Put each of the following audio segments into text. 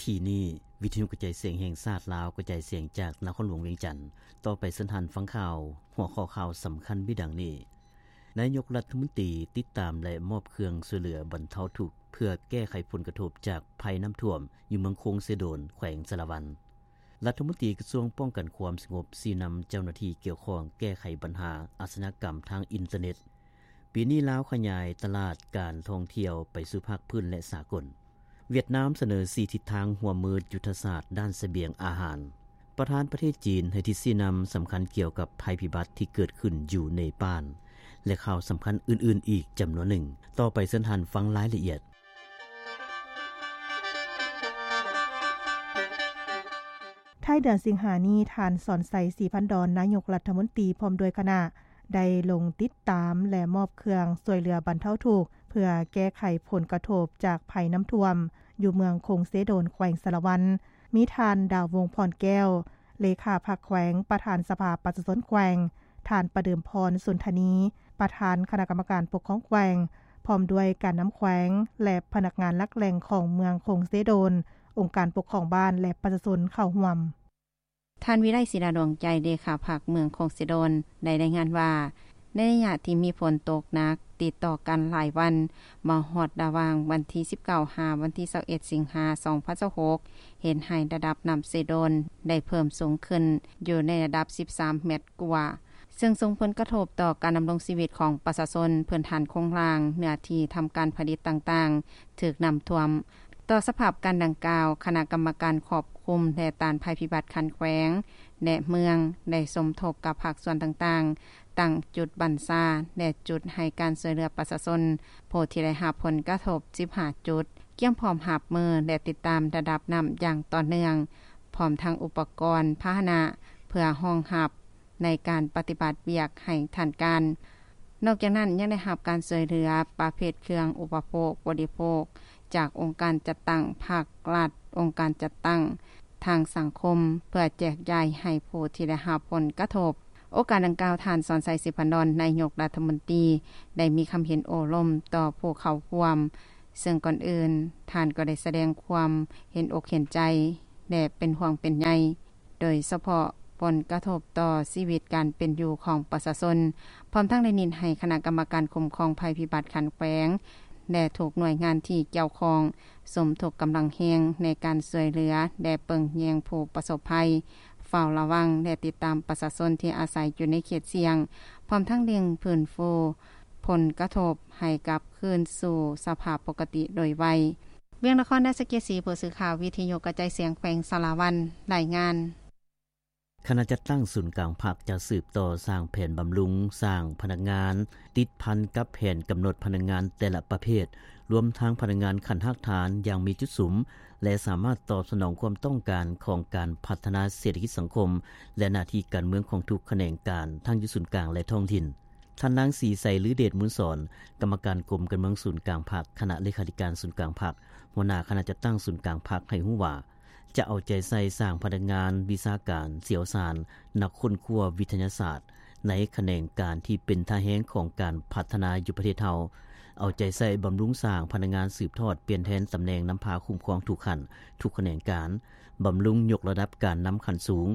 ທີ່ນີ້ ວິທະຍຸກະຈາຍສຽງແຫ່ງຊາດລາວ ກະຈາຍສຽງຈາກນະຄອນຫຼວງວຽງຈັນ. ຕໍ່ໄປເຊີນທ່ານຟັງຂ່າວ. ຫົວຂໍ້ຂ່າວສຳຄັນມີດັ່ງນີ້: ນາຍົກລັດຖະມົນຕີຕິດຕາມ ແລະ ມອບເຄື່ອງຊ່ວຍເຫຼືອບັນເທົາທຸກ ເພື່ອແກ້ໄຂຜົນກະທົບຈາກໄພນ້ຳຖ້ວມ ຢູ່ເມືອງຄົງເຊໂດນ ແຂວງສາລະວັນ. ລັດຖະມົນຕີກະຊວງປ້ອງກັນຄວາມສະຫງົບ ຊີ້ນຳເຈົ້າໜ້າທີ່ກ່ຽວຂ້ອງແກ້ໄຂບັນຫາອາຊະຍາກຳທາງອິນເຕີເນັດ. ປີນີ້ລາວຂະຫຍາຍຕະຫຼາດການທ່ອງທ່ຽວໄປສູ່ພາກພື້ນ ແລະ ສາກົນ. ຫວຽດນາມສະເໜີສີ່ທິດທາງຮ່ວມມືຍຸດທະສາດດ້ານສະບຽງອາຫານ. ປະທານປະເທດຈີນໃຫ້ທິດຊີ້ນຳສຳຄັນກ່ຽວກັບໄພພິບັດທີ່ເກີດຂຶ້ນຢູ່ເນປານ ແລະ ຂ່າວສຳຄັນອື່ນໆອີກຈຳນວນໜຶ່ງ. ຕໍ່ໄປເຊີນທ່ານຟັງລາຍລະອຽດ. ທ້າຍເດືອນສິງຫານີ້, ທ່ານ ສອນໄຊ ສີພັນດອນ ນາຍົກລັດຖະມົນຕີ ພ້ອມດ້ວຍຄະນະ ໄດ້ລົງຕິດຕາມ ແລະ ມອບເຄື່ອງຊ່ວຍເຫຼືອບັນເທົາທຸກ ເພື່ອແກ້ໄຂຜົນກະທົບຈາກໄພນ້ຳຖ້ວມ ຢູ່ເມືອງຄົງເຊໂດນ ແຂວງສາລະວັນ. ມີທ່ານ ດາວວົງ ພອນແກ້ວ ເລຂາພັກແຂວງ, ປະທານສະພາປະຊາຊົນແຂວງ, ທ່ານ ປະເດີມພອນ ສຸນທະນີ ປະທານຄະນະກຳມະການປົກຄອງແຂວງ ພ້ອມດ້ວຍການນຳແຂວງ ແລະ ພະນັກງານຫຼັກແຫຼ່ງຂອງເມືອງຄົງເຊໂດນ, ອົງການປົກຄອງບ້ານ ແລະ ປະຊາຊົນເຂົ້າຮ່ວມ. ທ່ານ ວິໄລ ສີດາດວງໃຈ ເລຂາພັກເມືອງຄົງເຊໂດນ ໄດ້ລາຍງານວ່າ ໃນໄລຍະທີ່ມີຝົນຕົກໜັກຕິດຕໍ່ກັນຫຼາຍວັນ ມາຮອດລະຫວ່າງວັນທີສິບເກົ້າ ຫາວັນທີຊາວເອັດ ສິງຫາ ສອງພັນຊາວຫົກ ເຮັດໃຫ້ລະດັບນ້ຳເຊໂດນໄດ້ເພີ່ມສູງຂຶ້ນ ຢູ່ໃນລະດັບສິບສາມແມັດກວ່າ ເຊິ່ງສົ່ງຜົນກະທົບຕໍ່ການດຳລົງຊີວິດຂອງປະຊາຊົນ, ພື້ນຖານໂຄງລ່າງ, ເນື້ອທີ່ທຳການຜະລິດຕ່າງໆ ຖືກນ້ຳຖ້ວມ. ຕໍ່ສະພາບການດັ່ງກ່າວ, ຄະນະກຳມະການຄວບຄຸມ ແລະ ຕ້ານໄພພິບັດຂັ້ນແຂວງ ແລະ ເມືອງ ໄດ້ສົມທົບກັບພາກສ່ວນຕ່າງໆ, ຕັ້ງຈຸດບັນຊາ ແລະ ຈຸດໃຫ້ການຊ່ວຍເຫຼືອປະຊາຊົນ ຜູ້ທີ່ໄດ້ຮັບຜົນກະທົບສິບຫ້າຈຸດ, ກຽມພ້ອມຮັບມື ແລະ ຕິດຕາມລະດັບນ້ຳຢ່າງຕໍ່ເນື່ອງ, ພ້ອມທັງອຸປະກອນ, ພາຫະນະ ເພື່ອຮອງຮັບ ໃນການປະຕິບັດວຽກໃຫ້ທັນການ. ນອກຈາກນັ້ນ ຍັງໄດ້ຮັບການຊ່ວຍເຫຼືອປະເພດເຄື່ອງອຸປະໂພກບໍລິໂພກ ຈາກອົງການຈັດຕັ້ງພາກລັດ, ອົງການຈັດຕັ້ງທາງສັງຄົມ ເພື່ອແຈກຢາຍໃຫ້ຜູ້ທີ່ໄດ້ຮັບຜົນກະທົບ. ໂອກາດດັ່ງກ່າວ, ທ່ານ ສອນໄຊ ສີພັນດອນ ນາຍົກລັດຖະມົນຕີ ໄດ້ມີຄຳເຫັນໂອ້ລົມຕໍ່ຜູ້ເຂົ້າຮ່ວມ, ເຊິ່ງກ່ອນອື່ນ ທ່ານກໍໄດ້ສະແດງຄວາມເຫັນອົກເຫັນໃຈ ແລະ ເປັນຫ່ວງເປັນໃຍ ໂດຍສະເພາະຜົນກະທົບຕໍ່ຊີວິດການເປັນຢູ່ຂອງປະຊາຊົນ, ພ້ອມທັງໄດ້ເນັ້ນໃຫ້ຄະນະກຳມະການຄຸ້ມຄອງໄພພິບັດຂັ້ນແຂວງ ແລະ ທຸກໜ່ວຍງານທີ່ກ່ຽວຂ້ອງ ສົມທົບກຳລັງແຮງໃນການຊ່ວຍເຫຼືອ ແລະ ເບິ່ງແຍງຜູ້ປະສົບໄພ, ເຝົ້າລະວັງ ແລະ ຕິດຕາມປະຊາຊົນທີ່ອາໄສຢູ່ໃນເຂດສ່ຽງ, ພ້ອມທັງເລັ່ງຟື້ນຟູຜົນກະທົບໃຫ້ກັບຄືນສູ່ສະພາບປົກກະຕິໂດຍໄວ. ວຽງນະຄອນ ໄດ້ສະເກດສີ ຜູ້ສື່ຂ່າວວິທະຍຸກະຈາຍສຽງແຂວງສາລະວັນ ລາຍງານ. ຄະນະຈັດຕັ້ງສູນກາງພັກຈະສືບຕໍ່ສ້າງແຜນບຳລຸງສ້າງພະນັກງານ ຕິດພັນກັບແຜນກຳນົດພະນັກງານແຕ່ລະປະເພດ, ລວມທັງພະນັກງານຂັ້ນຮາກຖານຢ່າງມີຈຸດສຸມ ແລະ ສາມາດຕອບສະໜອງຄວາມຕ້ອງການຂອງການພັດທະນາເສດຖະກິດສັງຄົມ ແລະ ໜ້າທີ່ການເມືອງຂອງທຸກຂະແໜງການ ທັງຢູ່ສູນກາງ ແລະ ທ້ອງຖິ່ນ. ທ່ານນາງ ສີໄຊ ລືເດດມູນສອນ ກຳມະການກົມການເມືອງສູນກາງພັກ, ຄະນະເລຂາທິການສູນກາງພັກ, ຫົວໜ້າຄະນະຈັດຕັ້ງສູນກາງພັກ ໃຫ້ຮູ້ວ່າ ຈະເອົາໃຈໃສ່ສ້າງພະນັກງານວິຊາການຊ່ຽວຊານ, ນັກຄົ້ນຄວ້າວິທະຍາສາດ ໃນຂະແໜງການທີ່ເປັນທ່າແຮງຂອງການພັດທະນາຢູ່ປະເທດເຮົາ, ເອົາໃຈໃສ່ບຳລຸງສ້າງພະນັກງານສືບທອດປ່ຽນແທນຕຳແໜ່ງນຳພາຄຸ້ມຄອງທຸກຂັ້ນ, ທຸກຂະແໜງການ, ບຳລຸງຍົກລະດັບການນຳຂັ້ນສູງ,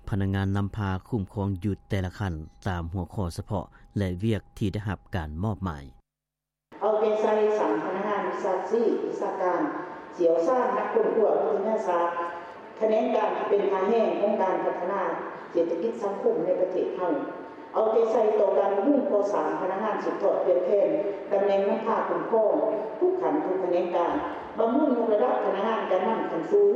ພະນັກງານນຳພາຄຸ້ມຄອງຢູ່ແຕ່ລະຂັ້ນ ຕາມຫົວຂໍ້ສະເພາະ ແລະ ວຽກທີ່ໄດ້ຮັບການມອບໝາຍ. ເອົາໃຈໃສ່ສ້າງພະນັກງານວິຊາຊີບ, ວິຊາການ, ຊ່ຽວຊານ, ນັກຄົ້ນຄວ້າວິທະຍາສາດ, ຂະແໜງການທີ່ເປັນທ່າແຮງຂອງການພັດທະນາເສດຖະກິດສັງຄົມໃນປະເທດເຮົາ. ເອົາໃຈໃສ່ຕໍ່ການບຳລຸງກໍ່ສ້າງພະນັກງານສືບທອດປ່ຽນແທນຕຳແໜ່ງນຳພາຄຸ້ມຄອງທຸກຂັ້ນທຸກຂະແໜງການ, ບຳລຸງຍົກລະດັບພະນັກງານການນຳຂັ້ນສູງ,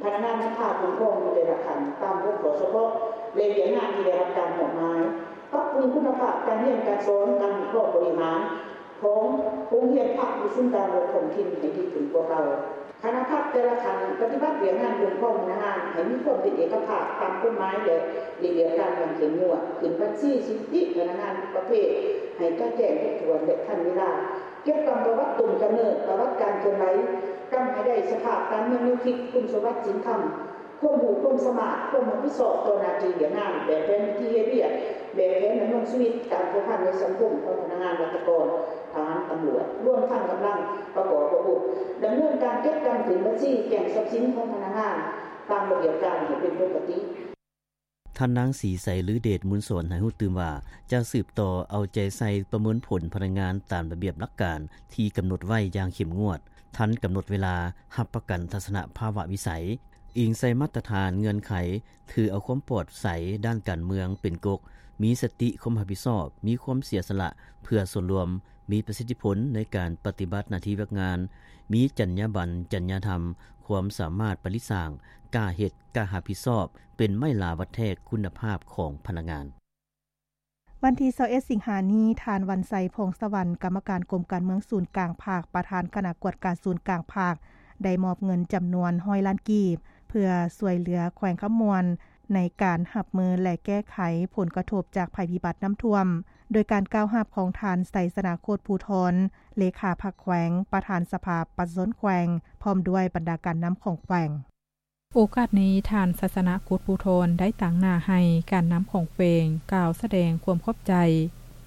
ພະນັກງານນຳພາຄຸ້ມຄອງຢູ່ແຕ່ລະຂັ້ນຕາມຫົວຂໍ້ສະເພາະ ແລະ ວຽກງານທີ່ໄດ້ຮັບການມອບໝາຍ, ປັບປຸງຄຸນນະພາບການຮຽນການສອນ, ການວິເຄາະບໍລິຫານ ຂອງໂຮງຮຽນພັກຢູ່ສູນກາງ ແລະ ທ້ອງຖິ່ນໃຫ້ດີຂຶ້ນກວ່າເກົ່າ. ຄະນະພັກແຕ່ລະຂັ້ນປະຕິບັດວຽກງານຄຸ້ມຄອງພະນັກງານໃຫ້ມີຄວາມເປັນເອກະພາບຕາມກົດໝາຍ ແລະ ລະບຽບການຢ່າງເຂັ້ມງວດ, ຂຶ້ນບັນຊີສະຖິຕິພະນັກງານທຸກປະເພດໃຫ້ຈະແຈ້ງຄົບຖ້ວນ ແລະ ທັນເວລາ, ເກັບກຳປະຫວັດຕົ້ນກຳເນີດ, ປະຫວັດການເຄື່ອນໄຫວ, ກຳໃຫ້ໄດ້ສະພາບການເມືອງແນວຄິດ, ຄຸນສົມບັດສິນທຳ, ຄວາມຮູ້ຄວາມສາມາດ, ຄວາມຮັບຜິດຊອບຕໍ່ໜ້າທີ່ວຽກງານ, ແບບແຜນວິທີເຮັດວຽກ, ແບບແຜນດຳລົງຊີວິດ, ການພົວພັນໃນສັງຄົມຂອງພະນັກງານລັດຖະກອນ, ທະຫານ, ຕຳຫຼວດ, ລວມທັງກຳລັງປະກອບອາວຸດ, ດຳເນີນການເກັບກຳຂຶ້ນບັນຊີ, ແຈ້ງຊັບສິນຂອງພະນັກງານຕາມລະບຽບການໃຫ້ເປັນປົກກະຕິ. ທ່ານນາງ ສີໄຊລືເດດ ມູນສອນ ໃຫ້ຮູ້ຕື່ມວ່າ ຈະສືບຕໍ່ເອົາໃຈໃສ່ປະເມີນຜົນພະນັກງານຕາມລະບຽບຫຼັກການທີ່ກຳນົດໄວ້ຢ່າງເຂັ້ມງວດ, ທັນກຳນົດເວລາ, ຮັບປະກັນທັດສະນະພາວະວິໄສ, ອີງໃສ່ມາດຕະຖານເງື່ອນໄຂ, ຖືເອົາຄວາມປອດໃສດ້ານການເມືອງເປັນກົກ, ມີສະຕິຄວາມຮັບຜິດຊອບ, ມີຄວາມເສຍສະຫຼະເພື່ອສ່ວນລວມ, ມີປະສິດທິຜົນໃນການປະຕິບັດໜ້າທີ່ວຽກງານ, ມີຈັນຍາບັນ, ຈັນຍາທຳ, ຄວາມສາມາດປະລິດສ້າງ, ກ້າເຮັດ, ກ້າຮັບຜິດຊອບ, ເປັນໄມ້ຫຼາວັດແທກຄຸນນະພາບຂອງພະນັກງານ. ວັນທີຊາວເອັດ ສິງຫານີ້, ທ່ານ ວັນໄຊ ພອງສະຫວັນ ກຳມະການກົມການເມືອງສູນກາງພັກ, ປະທານຄະນະກວດກາສູນກາງພັກ ໄດ້ມອບເງິນຈຳນວນຮ້ອຍລ້ານກີບ ເພື່ອຊ່ວຍເຫຼືອແຂວງຄຳມ່ວນ ໃນການຮັບມື ແລະ ແກ້ໄຂຜົນກະທົບຈາກໄພພິບັດນ້ຳຖ້ວມ, ໂດຍການກ່າວຮັບຂອງທ່ານ ໄຊຊະນະ ໂຄດພູທອນ ເລຂາພັກແຂວງ, ປະທານສະພາປະຊາຊົນແຂວງ ພ້ອມດ້ວຍບັນດາການນຳຂອງແຂວງ. ໂອກາດນີ້, ທ່ານ ໄຊຊະນະ ໂຄດພູທອນ ໄດ້ຕາງໜ້າໃຫ້ການນຳຂອງແຂວງກ່າວສະແດງຄວາມຂອບໃຈ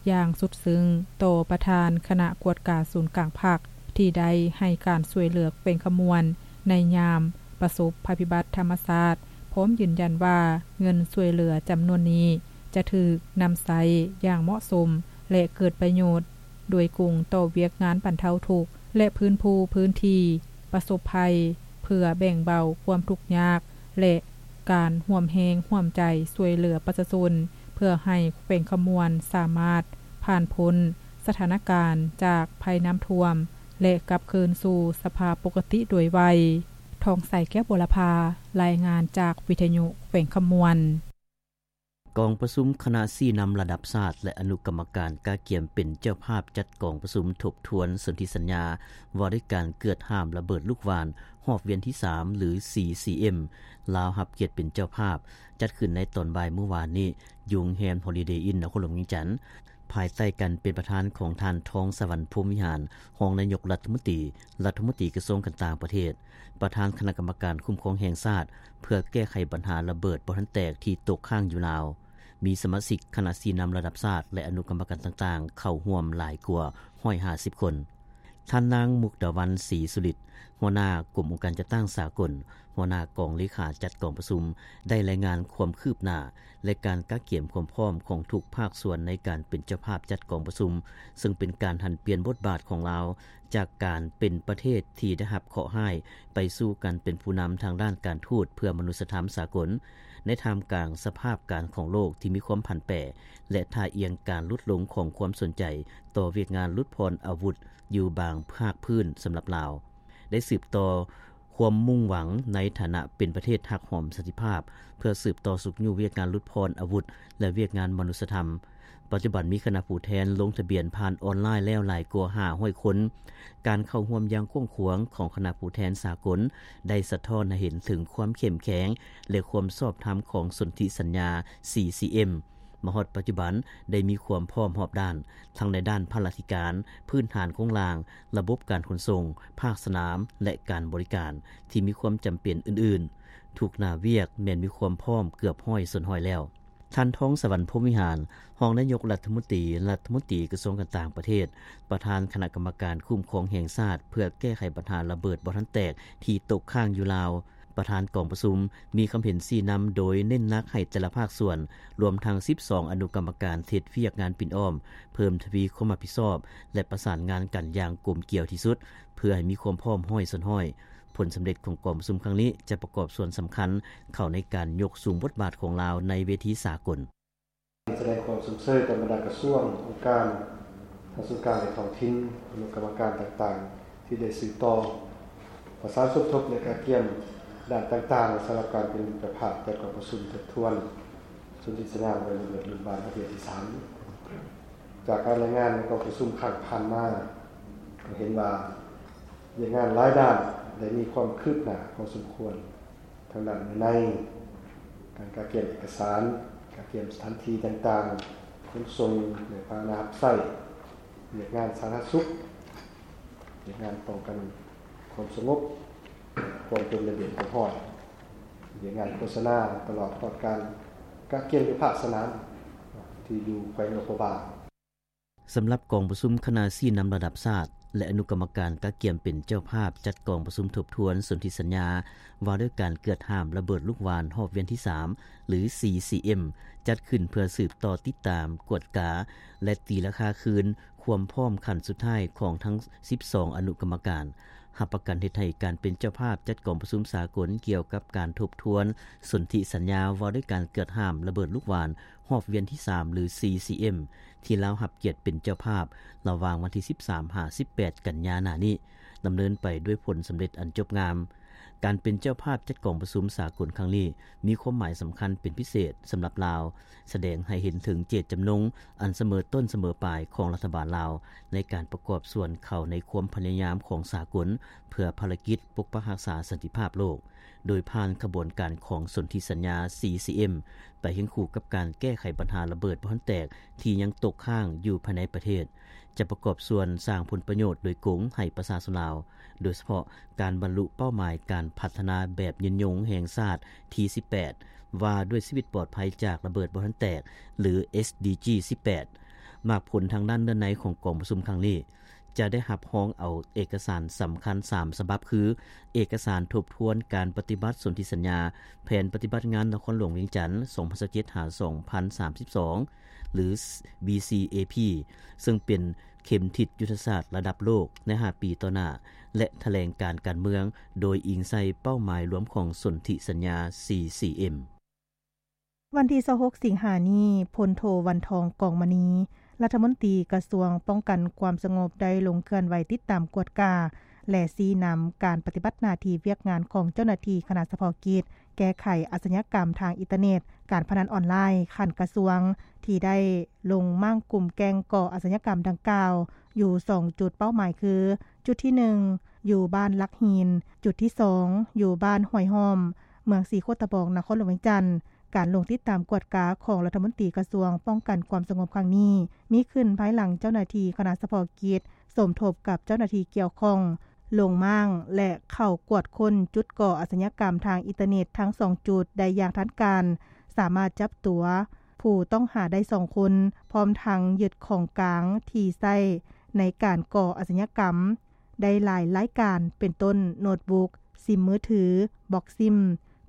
ຢ່າງສຸດຊຶ້ງຕໍ່ປະທານຄະນະກວດກາສູນກາງພັກ ທີ່ໄດ້ໃຫ້ການຊ່ວຍເຫຼືອແຂວງຄຳມ່ວນໃນຍາມປະສົບໄພພິບັດທຳມະຊາດ, ພ້ອມຢືນຢັນວ່າເງິນຊ່ວຍເຫຼືອຈຳນວນນີ້ຈະຖືກນຳໃຊ້ຢ່າງເໝາະສົມ ແລະ ເກີດປະໂຫຍດໂດຍກົງຕໍ່ວຽກງານບັນເທົາທຸກ ແລະ ຟື້ນຟູພື້ນທີ່ປະສົບໄພ ເພື່ອແບ່ງເບົາຄວາມທຸກຍາກ ແລະ ການຮ່ວມແຮງຮ່ວມໃຈຊ່ວຍເຫຼືອປະຊາຊົນ ເພື່ອໃຫ້ແຂວງຄຳມ່ວນສາມາດຜ່ານພົ້ນສະຖານະການຈາກໄພນ້ຳຖ້ວມ ແລະ ກັບຄືນສູ່ສະພາບປົກກະຕິໂດຍໄວ. ທອງໃສ ແກ້ວບົວລະພາ, ລາຍງານຈາກວິທະຍຸແຂວງຄຳມ່ວນ. ກອງປະຊຸມຄະນະຊີ້ນຳລະດັບຊາດ ແລະ ອະນຸກຳມະການກະກຽມເປັນເຈົ້າພາບຈັດກອງປະຊຸມທົບທວນສົນທິສັນຍາ ວ່າດ້ວຍການເກືອດຫ້າມລະເບີດລູກຫວ່ານຮອບວຽນທີສາມ ຫຼື ຊີຊີເອັມ ລາວຮັບກຽດເປັນເຈົ້າພາບ ຈັດຂຶ້ນໃນຕອນບ່າຍມື້ວານນີ້ ຢູ່ໂຮງແຮມ Holiday Inn ນະຄອນຫຼວງວຽງຈັນ. ພາຍໃຕ້ການເປັນປະທານຂອງທ່ານ ທອງສະຫວັນ ພົມວິຫານ ຮອງນາຍົກລັດຖະມົນຕີ, ລັດຖະມົນຕີກະຊວງການຕ່າງປະເທດ, ປະທານຄະນະກຳມະການຄຸ້ມຄອງແຫ່ງຊາດ ເພື່ອແກ້ໄຂບັນຫາລະເບີດບໍ່ທັນແຕກທີ່ຕົກຄ້າງຢູ່ລາວ, ມີສະມາຊິກຄະນະຊີ້ນຳລະດັບຊາດ ແລະ ອະນຸກຳມະການຕ່າງໆ ເຂົ້າຮ່ວມຫຼາຍກວ່າຮ້ອຍຫ້າສິບຄົນ. ທ່ານນາງ ມຸກດາວັນ ສີສຸລິດ ຫົວໜ້າກົມອົງການຈັດຕັ້ງສາກົນ, ຫົວໜ້າກອງເລຂາຈັດກອງປະຊຸມ ໄດ້ລາຍງານຄວາມຄືບໜ້າ ແລະ ການກະກຽມຄວາມພ້ອມຂອງທຸກພາກສ່ວນໃນການເປັນເຈົ້າພາບຈັດກອງປະຊຸມ, ເຊິ່ງເປັນການຫັນປ່ຽນບົດບາດຂອງລາວ ຈາກການເປັນປະເທດທີ່ໄດ້ຮັບເຄາະຮ້າຍ ໄປສູ່ການເປັນຜູ້ນຳທາງດ້ານການທູດເພື່ອມະນຸດສະທຳສາກົນ, ໃນທ່າມກາງສະພາບການຂອງໂລກທີ່ມີຄວາມຜັນແປ ແລະ ທ່າອ່ຽງການຫຼຸດລົງຂອງຄວາມສົນໃຈຕໍ່ວຽກງານຫຼຸດຜ່ອນອາວຸດ ຢູ່ບາງພາກພື້ນສຳລັບລາວ, ໄດ້ສືບຕໍ່ຄວາມມຸ່ງຫວັງໃນຖານະເປັນປະເທດຮັກຫອມສັນຕິພາບ ເພື່ອສືບຕໍ່ຊຸກຍູ້ວຽກງານຫຼຸດຜ່ອນອາວຸດ ແລະ ວຽກງານມະນຸດສະທຳ. ປັດຈຸບັນມີຄະນະຜູ້ແທນລົງທະບຽນຜ່ານອອນລາຍແລ້ວຫຼາຍກວ່າຫ້າຮ້ອຍຄົນ. ການເຂົ້າຮ່ວມຢ່າງກວ້າງຂວາງຂອງຄະນະຜູ້ແທນສາກົນ ໄດ້ສະທ້ອນໃຫ້ເຫັນເຖິງຄວາມເຂັ້ມແຂງ ແລະ ຄວາມຊອບທຳຂອງສົນທິສັນຍາ ຊີຊີເອັມ ມາຮອດປັດຈຸບັນໄດ້ມີຄວາມພ້ອມຮອບດ້ານ, ທັງໃນດ້ານພະລາທິການ, ພື້ນຖານໂຄງລ່າງ, ລະບົບການຂົນສົ່ງ, ພາກສະໜາມ ແລະ ການບໍລິການ ທີ່ມີຄວາມຈຳເປັນອື່ນໆ. ທຸກໜ້າວຽກແມ່ນມີຄວາມພ້ອມເກືອບຮ້ອຍສ່ວນຮ້ອຍແລ້ວ. ທ່ານ ທອງສະຫວັນ ພົມວິຫານ ຮອງນາຍົກລັດຖະມົນຕີ, ລັດຖະມົນຕີກະຊວງການຕ່າງປະເທດ, ປະທານຄະນະກຳມະການຄຸ້ມຄອງແຫ່ງຊາດ ເພື່ອແກ້ໄຂບັນຫາລະເບີດບໍ່ທັນແຕກທີ່ຕົກຄ້າງຢູ່ລາວ, ປະທານກອງປະຊຸມ ມີຄຳເຫັນຊີ້ນຳໂດຍເນັ້ນໜັກໃຫ້ແຕ່ລະພາກສ່ວນ, ລວມທັງສິບສອງອະນຸກຳມະການເຮັດວຽກງານປິ່ນອ້ອມ, ເພີ່ມທະວີຄວາມຮັບຜິດຊອບ ແລະ ປະສານງານກັນຢ່າງກົມກຽວທີ່ສຸດ ເພື່ອໃຫ້ມີຄວາມພ້ອມຮ້ອຍສ່ວນຮ້ອຍ. ຜົນສຳເລັດຂອງກອງປະຊຸມຄັ້ງນີ້ຈະປະກອບສ່ວນສຳຄັນເຂົ້າໃນການຍົກສູງບົດບາດຂອງລາວໃນເວທີສາກົນ. ສະແດງຄວາມຊົມເຊີຍຕໍ່ບັນດາກະຊວງ, ອົງການ, ທັງສູນກາງ ແລະ ທ້ອງຖິ່ນ, ອະນຸກຳມະການຕ່າງໆ ທີ່ໄດ້ສືບຕໍ່ປະສານສົມທົບ ແລະ ກະກຽມດ້ານຕ່າງໆ ສຳລັບການເປັນເຈົ້າພາບຈັດກອງປະຊຸມທົບທວນສົນທິສັນຍາບໍ່ລະເບີດລຸ້ນບ້ານຮອບເທື່ອທີສາມ. ຈາກການລາຍງານໃນກອງປະຊຸມຄັ້ງຜ່ານມາ ກໍເຫັນວ່າວຽກງານຫຼາຍດ້ານໄດ້ມີຄວາມຄືບໜ້າພໍສົມຄວນ. ທາງດ້ານເນື້ອໃນ, ການກະກຽມເອກະສານ, ກະກຽມສະຖານທີ່ຕ່າງໆ, ຂົນສົ່ງ ແລະ ພາຫະນະຮັບໃຊ້, ວຽກງານສາທາລະນະສຸກ, ວຽກງານປ້ອງກັນຄວາມສະຫງົບ, ຄວາມເປັນລະບຽບຮຽບຮ້ອຍ, ວຽກງານໂຄສະນາ ຕະຫຼອດຮອດການກະກຽມຢູ່ພາກສະໜາມ ທີ່ຢູ່ແຂວງຫຼວງພະບາງ. ສຳລັບກອງປະຊຸມຄະນະຊີ້ນຳລະດັບຊາດ ແລະ ອະນຸກຳມະການກະກຽມເປັນເຈົ້າພາບຈັດກອງປະຊຸມທົບທວນສົນທິສັນຍາ ວ່າດ້ວຍການເກືອດຫ້າມລະເບີດລູກຫວ່ານຮອບວຽນທີສາມ ຫຼື CCM ຈັດຂຶ້ນເພື່ອສືບຕໍ່ຕິດຕາມ, ກວດກາ ແລະ ຕີລາຄາຄືນຄວາມພ້ອມຂັ້ນສຸດທ້າຍຂອງທັງສິບສອງອະນຸກຳມະການ, ຮັບປະກັນເຮັດໃຫ້ການເປັນເຈົ້າພາບຈັດກອງປະຊຸມສາກົນກ່ຽວກັບການທົບທວນສົນທິສັນຍາວ່າດ້ວຍການເກືອດຫ້າມລະເບີດລູກຫວ່ານຮອບວຽນທີສາມ ຫຼື CCM ທີ່ລາວຮັບກຽດເປັນເຈົ້າພາບ ລະຫວ່າງວັນທີສິບສາມ ຫາ ສິບແປດ ກັນຍາໜ້ານີ້ ດຳເນີນໄປດ້ວຍຜົນສຳເລັດອັນຈົບງາມ. ການເປັນເຈົ້າພາບຈັດກອງປະຊຸມສາກົນຄັ້ງນີ້ ມີຄວາມໝາຍສຳຄັນເປັນພິເສດສຳລັບລາວ, ສະແດງໃຫ້ເຫັນເຖິງເຈດຈຳນົງອັນສະເໝີຕົ້ນສະເໝີປາຍຂອງລັດຖະບານລາວ ໃນການປະກອບສ່ວນເຂົ້າໃນຄວາມພະຍາຍາມຂອງສາກົນ ເພື່ອພາລະກິດປົກປັກຮັກສາສັນຕິພາບໂລກ, ໂດຍຜ່ານຂະບວນການຂອງສົນທິສັນຍາ CCM ໄປຄຽງຄູ່ກັບການແກ້ໄຂບັນຫາລະເບີດບໍ່ທັນແຕກທີ່ຍັງຕົກຄ້າງຢູ່ພາຍໃນປະເທດ, ຈະປະກອບສ່ວນສ້າງຜົນປະໂຫຍດໂດຍກົງໃຫ້ປະຊາຊົນລາວ, ໂດຍສະເພາະການບັນລຸເປົ້າໝາຍການພັດທະນາແບບຍືນຍົງແຫ່ງຊາດທີສິບແປດ ວ່າດ້ວຍຊີວິດປອດໄພຈາກລະເບີດບໍ່ທັນແຕກ ຫຼື SDG ສິບແປດ. ໝາກຜົນທາງດ້ານເນື້ອໃນຂອງກອງປະຊຸມຄັ້ງນີ້ ຈະໄດ້ຮັບຮອງເອົາເອກະສານສຳຄັນສາມສະບັບ ຄື ເອກະສານທົບທວນການປະຕິບັດສົນທິສັນຍາແຜນປະຕິບັດງານນະຄອນຫຼວງວຽງຈັນ ສອງພັນຊາວເຈັດ ຫາ ສອງພັນສາມສິບສອງ ຫຼື BCAP ເຊິ່ງເປັນເຂັມທິດຍຸດທະສາດລະດັບໂລກໃນຫ້າປີຕໍ່ໜ້າ ແລະ ຖະແຫຼງການການເມືອງ ໂດຍອີງໃສ່ເປົ້າໝາຍລວມຂອງສົນທິສັນຍາ CCM. ວັນທີຊາວຫົກ ສິງຫານີ້, ພົນໂທ ວັນທອງ ກອງມະນີ ລັດຖະມົນຕີກະຊວງປ້ອງກັນຄວາມສະຫງົບ ໄດ້ລົງເຄື່ອນໄຫວຕິດຕາມກວດກາ ແລະ ຊີ້ນຳການປະຕິບັດໜ້າທີ່ວຽກງານຂອງເຈົ້າໜ້າທີ່ຄະນະສະເພາະກິດ ແກ້ໄຂອາຊະຍາກຳທາງອິນເຕີເນັດ, ການພະນັນອອນລາຍຂັ້ນກະຊວງ ທີ່ໄດ້ລົງມ້າງກຸ່ມແກ້ງກໍ່ອາຊະຍາກຳດັ່ງກ່າວ ຢູ່ສອງຈຸດເປົ້າໝາຍຄື ຈຸດທີໜຶ່ງ ຢູ່ບ້ານຫຼັກຫີນ, ຈຸດທີສອງ ຢູ່ບ້ານຫ້ວຍຫ້ອມ, ເມືອງສີໂຄດຕະບອງ, ນະຄອນຫຼວງວຽງຈັນ. ການລົງຕິດຕາມກວດກາຂອງລັດຖະມົນຕີກະຊວງປ້ອງກັນຄວາມສະຫງົບຄັ້ງນີ້ ມີຂຶ້ນພາຍຫຼັງເຈົ້າໜ້າທີ່ຄະນະສະເພາະກິດ ສົມທົບກັບເຈົ້າໜ້າທີ່ກ່ຽວຂ້ອງ ລົງມ້າງ ແລະ ເຂົ້າກວດຄົ້ນຈຸດກໍ່ອາຊະຍາກຳທາງອິນເຕີເນັດທັງສອງຈຸດໄດ້ຢ່າງທັນການ, ສາມາດຈັບຕົວຜູ້ຕ້ອງຫາໄດ້ສອງຄົນ, ພ້ອມທັງຍຶດຂອງກາງທີ່ໃຊ້ໃນການກໍ່ອາຊະຍາກຳໄດ້ຫຼາຍລາຍການ, ເປັນຕົ້ນ ໂນດບຸກ, ຊິມມືຖື, ບັອກຊິມ,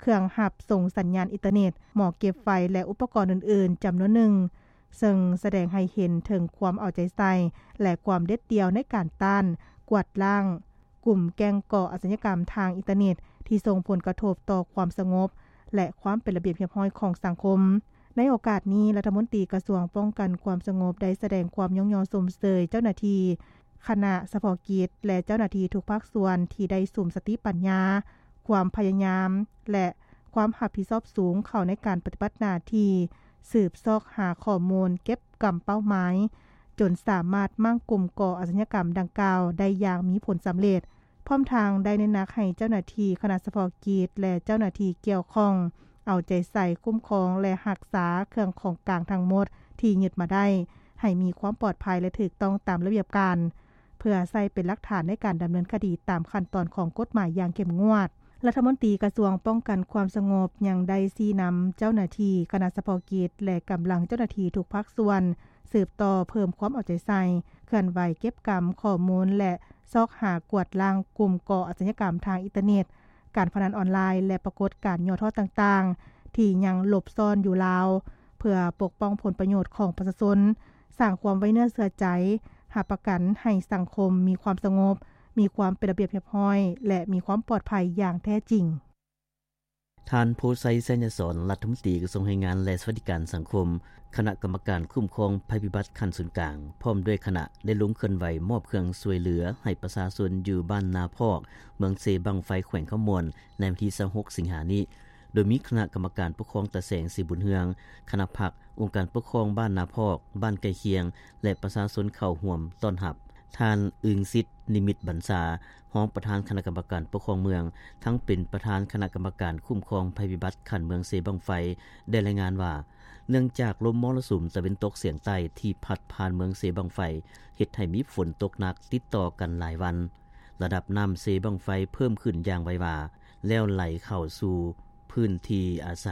ເຄື່ອງຮັບສົ່ງສັນຍານອິນເຕີເນັດ, ໝໍ້ເກັບໄຟ ແລະ ອຸປະກອນອື່ນໆ ຈຳນວນໜຶ່ງ. ເຊິ່ງສະແດງໃຫ້ເຫັນເຖິງຄວາມເອົາໃຈໃສ່ ແລະ ຄວາມເດັດດ່ຽວໃນການຕ້ານ, ກວາດລ້າງກຸ່ມແກ້ງກໍ່ອາຊະຍາກຳທາງອິນເຕີເນັດ ທີ່ສົ່ງຜົນກະທົບຕໍ່ຄວາມສະຫງົບ ແລະ ຄວາມເປັນລະບຽບຮຽບຮ້ອຍຂອງສັງຄົມ. ໃນໂອກາດນີ້, ລັດຖະມົນຕີກະຊວງປ້ອງກັນຄວາມສະຫງົບ ໄດ້ສະແດງຄວາມຍ້ອງຍໍຊົມເຊີຍເຈົ້າໜ້າທີ່ຄະນະສະເພາະກິດ ແລະ ເຈົ້າໜ້າທີ່ທຸກພາກສ່ວນທີ່ໄດ້ສຸມສະຕິປັນຍາ, ຄວາມພະຍາຍາມ ແລະ ຄວາມຮັບຜິດຊອບສູງເຂົ້າໃນການປະຕິບັດໜ້າທີ່ ສືບຊອກຫາຂໍ້ມູນເກັບກຳເປົ້າໝາຍ ຈົນສາມາດມ້າງກຸ່ມກໍ່ອາຊະຍາກຳດັ່ງກ່າວໄດ້ຢ່າງມີຜົນສຳເລັດ. ພ້ອມທັງໄດ້ເນັ້ນໜັກໃຫ້ເຈົ້າໜ້າທີ່ຄະນະສະເພາະກິດ ແລະ ເຈົ້າໜ້າທີ່ກ່ຽວຂ້ອງ ເອົາໃຈໃສ່ຄຸ້ມຄອງ ແລະ ຮັກສາເຄື່ອງຂອງກາງທັງໝົດທີ່ຍຶດມາໄດ້ ໃຫ້ມີຄວາມປອດໄພ ແລະ ຖືກຕ້ອງຕາມລະບຽບການ ເພື່ອໃຊ້ເປັນຫຼັກຖານໃນການດຳເນີນຄະດີຕາມຂັ້ນຕອນຂອງກົດໝາຍຢ່າງເຂັ້ມງວດ. ລັດຖະມົນຕີກະຊວງປ້ອງກັນຄວາມສະຫງົບຍັງໄດ້ຊີ້ນຳເຈົ້າໜ້າທີ່ຄະນະສະເພາະກິດ ແລະ ກຳລັງເຈົ້າໜ້າທີ່ທຸກພາກສ່ວນ ສືບຕໍ່ເພີ່ມຄວາມເອົາໃຈໃສ່, ເຄື່ອນໄຫວເກັບກຳຂໍ້ມູນ ແລະ ຊອກຫາກວາດລ້າງກຸ່ມກໍ່ອາຊະຍາກຳທາງອິນເຕີເນັດ, ການພະນັນອອນລາຍ ແລະ ປາກົດການຫຍໍ້ທໍ້ຕ່າງໆ ທີ່ຍັງຫຼົບຊ້ອນຢູ່ລາວ ເພື່ອປົກປ້ອງຜົນປະໂຫຍດຂອງປະຊາຊົນ, ສ້າງຄວາມໄວ້ເນື້ອເຊື່ອໃຈ, ຮັບປະກັນໃຫ້ສັງຄົມມີຄວາມສະຫງົບ, ມີຄວາມເປັນລະບຽບຮຽບຮ້ອຍ ແລະ ມີຄວາມປອດໄພຢ່າງແທ້ຈິງ. ທ່ານ ໂພໄຊ ໄຊຍະສອນ ລັດຖະມົນຕີກະຊວງແຮງງານ ແລະ ສະຫວັດດີການສັງຄົມ, ຄະນະກຳມະການຄຸ້ມຄອງໄພພິບັດຂັ້ນສູນກາງ ພ້ອມດ້ວຍຄະນະ ໄດ້ລົງເຄື່ອນໄຫວມອບເຄື່ອງຊ່ວຍເຫຼືອໃຫ້ປະຊາຊົນຢູ່ບ້ານນາພອກ, ເມືອງເຊບັ້ງໄຟ, ແຂວງຄຳມ່ວນ ໃນວັນທີຊາວຫົກ ສິງຫານີ້, ໂດຍມີຄະນະກຳມະການປົກຄອງຕາແສງ ສີບຸນເຮືອງ, ຄະນະພັກ, ອົງການປົກຄອງບ້ານນາພອກ, ບ້ານໃກ້ຄຽງ ແລະ ປະຊາຊົນເຂົ້າຮ່ວມຕ້ອນຮັບ. ທ່ານ ອຶງສິດ ນິມິດບັນຊາ, ຮອງປະທານຄະນະກຳມະການປົກຄອງເມືອງ, ທັງເປັນປະທານຄະນະກຳມະການຄຸ້ມຄອງໄພພິບັດຂັ້ນເມືອງເຊບັ້ງໄຟ ໄດ້ລາຍງານວ່າ ເນື່ອງຈາກລົມມໍລະສຸມຕາເວັນຕົກສຽງໃຕ້ທີ່ພັດຜ່ານເມືອງເຊບັ້ງໄຟ ເຮັດໃຫ້ມີຝົນຕົກໜັກຕິດຕໍ່ກັນຫຼາຍວັນ, ລະດັບນ້ຳເຊບັ້ງໄຟເພີ່ມຂຶ້ນຢ່າງໄວວາ ແລ້ວໄຫຼເຂົ້າສູ່ ພື້ນທີ່ອາໄສ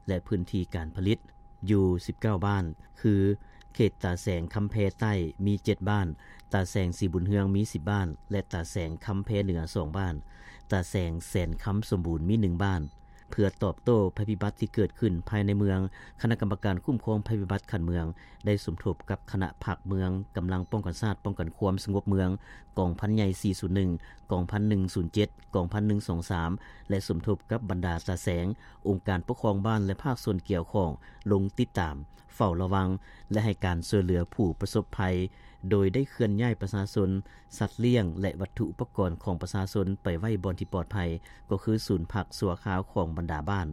ແລະ ພື້ນທີ່ການຜະລິດ ຢູ່ສິບເກົ້າບ້ານ ຄື ເຂດຕາແສງຄຳແພໃຕ້ ມີເຈັດບ້ານ, ຕາແສງສີບຸນເຮືອງ ມີສິບບ້ານ ແລະ ຕາແສງຄຳແພເໜືອ ສອງບ້ານ, ຕາແສງແສນຄຳສົມບູນ ມີໜຶ່ງບ້ານ. ເພື່ອຕອບໂຕ້ໄພພິບັດທີ່ເກີດຂຶ້ນພາຍໃນເມືອງ, ຄະນະກຳມະການຄຸ້ມຄອງໄພພິບັດຂັ້ນເມືອງ ໄດ້ສົມທົບກັບຄະນະພັກເມືອງ, ກຳລັງປ້ອງກັນຊາດ ປ້ອງກັນຄວາມສະຫງົບເມືອງ, ກອງພັນໃຫຍ່ສີ່ສູນໜຶ່ງ, ກອງພັນໜຶ່ງສູນເຈັດ, ກອງພັນໜຶ່ງສອງສາມ ແລະ ສົມທົບກັບບັນດາຕາແສງ, ອົງການປົກຄອງບ້ານ ແລະ ພາກສ່ວນກ່ຽວຂ້ອງ ລົງຕິດຕາມ, ເຝົ້າລະວັງ ແລະ ໃຫ້ການຊ່ວຍເຫຼືອຜູ້ປະສົບໄພ, ໂດຍໄດ້ເຄື່ອນຍ້າຍປະຊາຊົນ, ສັດລ້ຽງ ແລະ ວັດຖຸອຸປະກອນຂອງປະຊາຊົນໄປໄວ້ບ່ອນທີ່ປອດໄພ, ກໍຄືສູນພັກຊົ່ວຄາວຂອງບັນດາບ້ານ.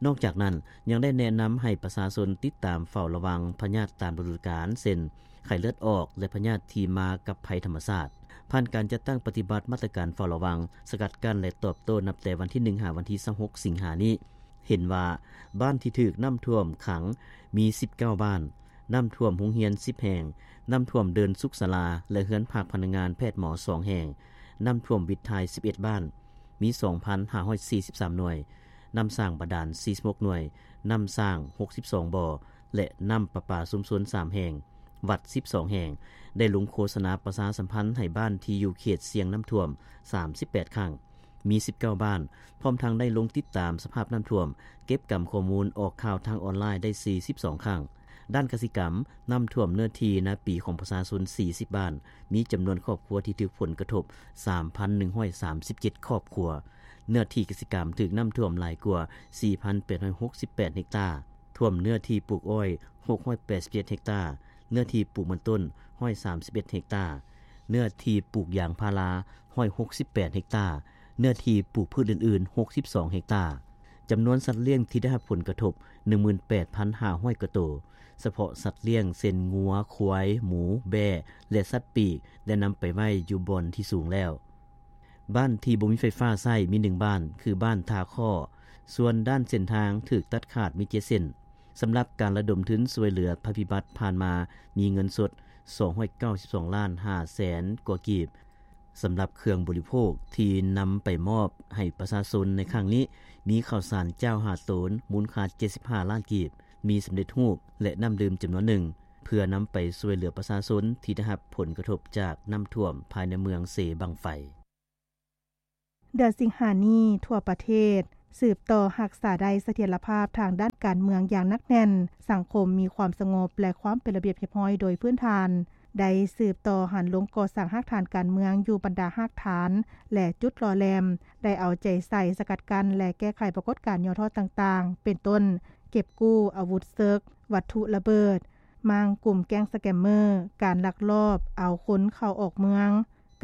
ນອກຈາກນັ້ນ, ຍັງໄດ້ແນະນຳໃຫ້ປະຊາຊົນຕິດຕາມເຝົ້າລະວັງພະຍາດຕາມລະດູການ ເຊັ່ນ ໄຂ້ເລືອດອອກ ແລະ ພະຍາດທີ່ມາກັບໄພທຳມະຊາດ. ຜ່ານການຈັດຕັ້ງປະຕິບັດມາດຕະການເຝົ້າລະວັງ, ສະກັດກັ້ນ ແລະ ຕອບໂຕ້ນັບແຕ່ວັນທີໜຶ່ງ ຫາວັນທີຊາວຫົກ ສິງຫານີ້, ເຫັນວ່າບ້ານທີ່ຖືກນ້ຳຖ້ວມຂັງມີສິບເກົ້າບ້ານ, ນ້ຳຖ້ວມໂຮງຮຽນສິບແຫ່ງ, ນ້ຳຖ້ວມເດີ່ນສຸກສາລາ ແລະ ເຮືອນພັກພະນັກງານແພດໝໍສອງແຫ່ງ, ນ້ຳຖ້ວມວິດຖ່າຍສິບເອັດບ້ານ, ມີສອງພັນຫ້າຮ້ອຍສີ່ສິບສາມໜ່ວຍ, ນ້ຳສ້າງບາດານສີ່ສິບຫົກໜ່ວຍ, ນ້ຳສ້າງຫົກສິບສອງບໍ່ ແລະ ນ້ຳປະປາຊຸມຊົນສາມແຫ່ງ, ວັດສິບສອງແຫ່ງ, ໄດ້ລົງໂຄສະນາປະຊາສຳພັນໃຫ້ບ້ານທີ່ຢູ່ເຂດສ່ຽງນ້ຳຖ້ວມສາມສິບແປດຄັ້ງ, ມີສິບເກົ້າບ້ານ, ພ້ອມທັງໄດ້ລົງຕິດຕາມສະພາບນ້ຳຖ້ວມ, ເກັບກຳຂໍ້ມູນອອກຂ່າວທາງອອນລາຍໄດ້ສີ່ສິບສອງຄັ້ງ. ດ້ານກະສິກຳ, ນ້ຳຖ້ວມເນື້ອທີ່ນາປີຂອງປະຊາຊົນສີ່ສິບບ້ານ, ມີຈຳນວນຄອບຄົວທີ່ຖືກຜົນກະທົບສາມພັນໜຶ່ງຮ້ອຍສາມສິບເຈັດຄອບຄົວ. ເນື້ອທີ່ກະສິກຳຖືກນ້ຳຖ້ວມຫຼາຍກວ່າສີ່ພັນແປດຮ້ອຍຫົກສິບແປດເຮັກຕາ, ຖ້ວມເນື້ອທີ່ປູກອ້ອຍຫົກຮ້ອຍແປດສິບເຈັດເຮັກຕາ, ເນື້ອທີ່ປູກມັນຕົ້ນຮ້ອຍສາມສິບເອັດເຮັກຕາ, ເນື້ອທີ່ປູກຢາງພາລາຮ້ອຍຫົກສິບແປດເຮັກຕາ, ເນື້ອທີ່ປູກພືດອື່ນໆຫົກສິບສອງເຮັກຕາ. ຈຳນວນສັດລ້ຽງທີ່ໄດ້ຮັບຜົນກະທົບໜຶ່ງໝື່ນແປດພັນຫ້າຮ້ອຍກວ່າໂຕ, ສະເພາະສັດລ້ຽງເຊັ່ນງົວ, ຄວາຍ, ໝູ, ແບ້ ແລະ ສັດປີກ ໄດ້ນຳໄປໄວ້ຢູ່ບ່ອນທີ່ສູງແລ້ວ. ບ້ານທີ່ບໍ່ມີໄຟຟ້າໃຊ້ມີໜຶ່ງບ້ານ ຄືບ້ານທ່າຄໍ້, ສ່ວນດ້ານເສັ້ນທາງຖືກຕັດຂາດມີເຈັດເສັ້ນ. ສຳລັບການລະດົມທຶນຊ່ວຍເຫຼືອໄພພິບັດຜ່ານມາ ມີເງິນສົດສອງຮ້ອຍເກົ້າສິບສອງລ້ານຫ້າແສນກວ່າກີບ. ສຳລັບເຄື່ອງບໍລິໂພກທີ່ນຳໄປມອບໃຫ້ປະຊາຊົນໃນຄັ້ງນີ້ ມີເຂົ້າສານຈ້າວຫ້າໂຕນ ມູນຄ່າເຈັດສິບຫ້າລ້ານກີບ, ໝີ່ສຳເລັດຮູບ ແລະ ນ້ຳດື່ມຈຳນວນໜຶ່ງ ເພື່ອນຳໄປຊ່ວຍເຫຼືອປະຊາຊົນທີ່ໄດ້ຮັບຜົນກະທົບຈາກນ້ຳຖ້ວມພາຍໃນເມືອງເຊບັ້ງໄຟ. ເດືອນສິງຫານີ້ ທົ່ວປະເທດ ສືບຕໍ່ຮັກສາໄດ້ສະຖຽນລະພາບທາງດ້ານການເມືອງຢ່າງໜັກແໜ້ນ, ສັງຄົມມີຄວາມສະຫງົບ ແລະ ຄວາມເປັນລະບຽບຮຽບຮ້ອຍໂດຍພື້ນຖານ, ໄດ້ສືບຕໍ່ຫັນລົງກໍ່ສ້າງຮາກຖານການເມືອງຢູ່ບັນດາຮາກຖານ ແລະ ຈຸດຫຼໍ່ແຫຼມ, ໄດ້ເອົາໃຈໃສ່ສະກັດກັ້ນ ແລະ ແກ້ໄຂປາກົດການຫຍໍ້ທໍ້ຕ່າງໆ ເປັນຕົ້ນ ເກັບກູ້ອາວຸດເສິກ, ວັດຖຸລະເບີດ, ມ້າງກຸ່ມແກ້ງສະແກມເມີ, ການລັກລອບເອົາຄົນເຂົ້າອອກເມືອງ,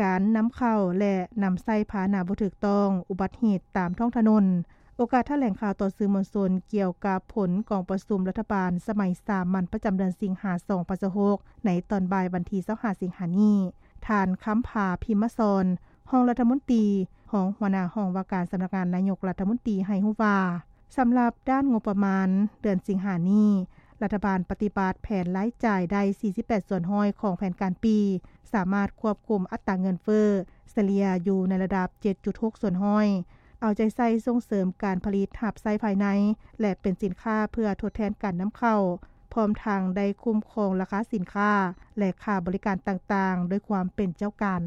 ການນຳເຂົ້າ ແລະ ນຳໃຊ້ພາຫະນະບໍ່ຖືກຕ້ອງ, ອຸບັດເຫດຕາມທ້ອງຖະໜົນ. ໂອກາດຖະແຫຼງຂ່າວຕໍ່ສື່ມວນຊົນກ່ຽວກັບຜົນກອງປະຊຸມລັດຖະບານສະໄໝສາມັນປະຈຳເດືອນສິງຫາ ສອງພັນຊາວຫົກ ໃນຕອນບ່າຍວັນທີຊາວຫ້າ ສິງຫານີ້, ທ່ານ ຄຳພາ ພິມມະສອນ ຮອງລັດຖະມົນຕີ, ຮອງຫົວໜ້າຫ້ອງວ່າການສຳນັກງານນາຍົກລັດຖະມົນຕີ ໃຫ້ຮູ້ວ່າ, ສຳລັບດ້ານງົບປະມານເດືອນສິງຫານີ້, ລັດຖະບານປະຕິບັດແຜນລາຍຈ່າຍໄດ້ ສີ່ສິບແປດສ່ວນຮ້ອຍຂອງແຜນການປີ, ສາມາດຄວບຄຸມອັດຕາເງິນເຟີ້ສະເລ່ຍຢູ່ໃນລະດັບ ເຈັດຈຸດຫົກສ່ວນຮ້ອຍ, ເອົາໃຈໃສ່ສົ່ງເສີມການຜະລິດຮັບໃຊ້ພາຍໃນ ແລະ ເປັນສິນຄ້າເພື່ອທົດແທນການນຳເຂົ້າ, ພ້ອມທັງໄດ້ຄຸ້ມຄອງລາຄາສິນຄ້າ ແລະ ຄ່າບໍລິການຕ່າງໆ ດ້ວຍຄວາມເປັນເຈົ້າການ.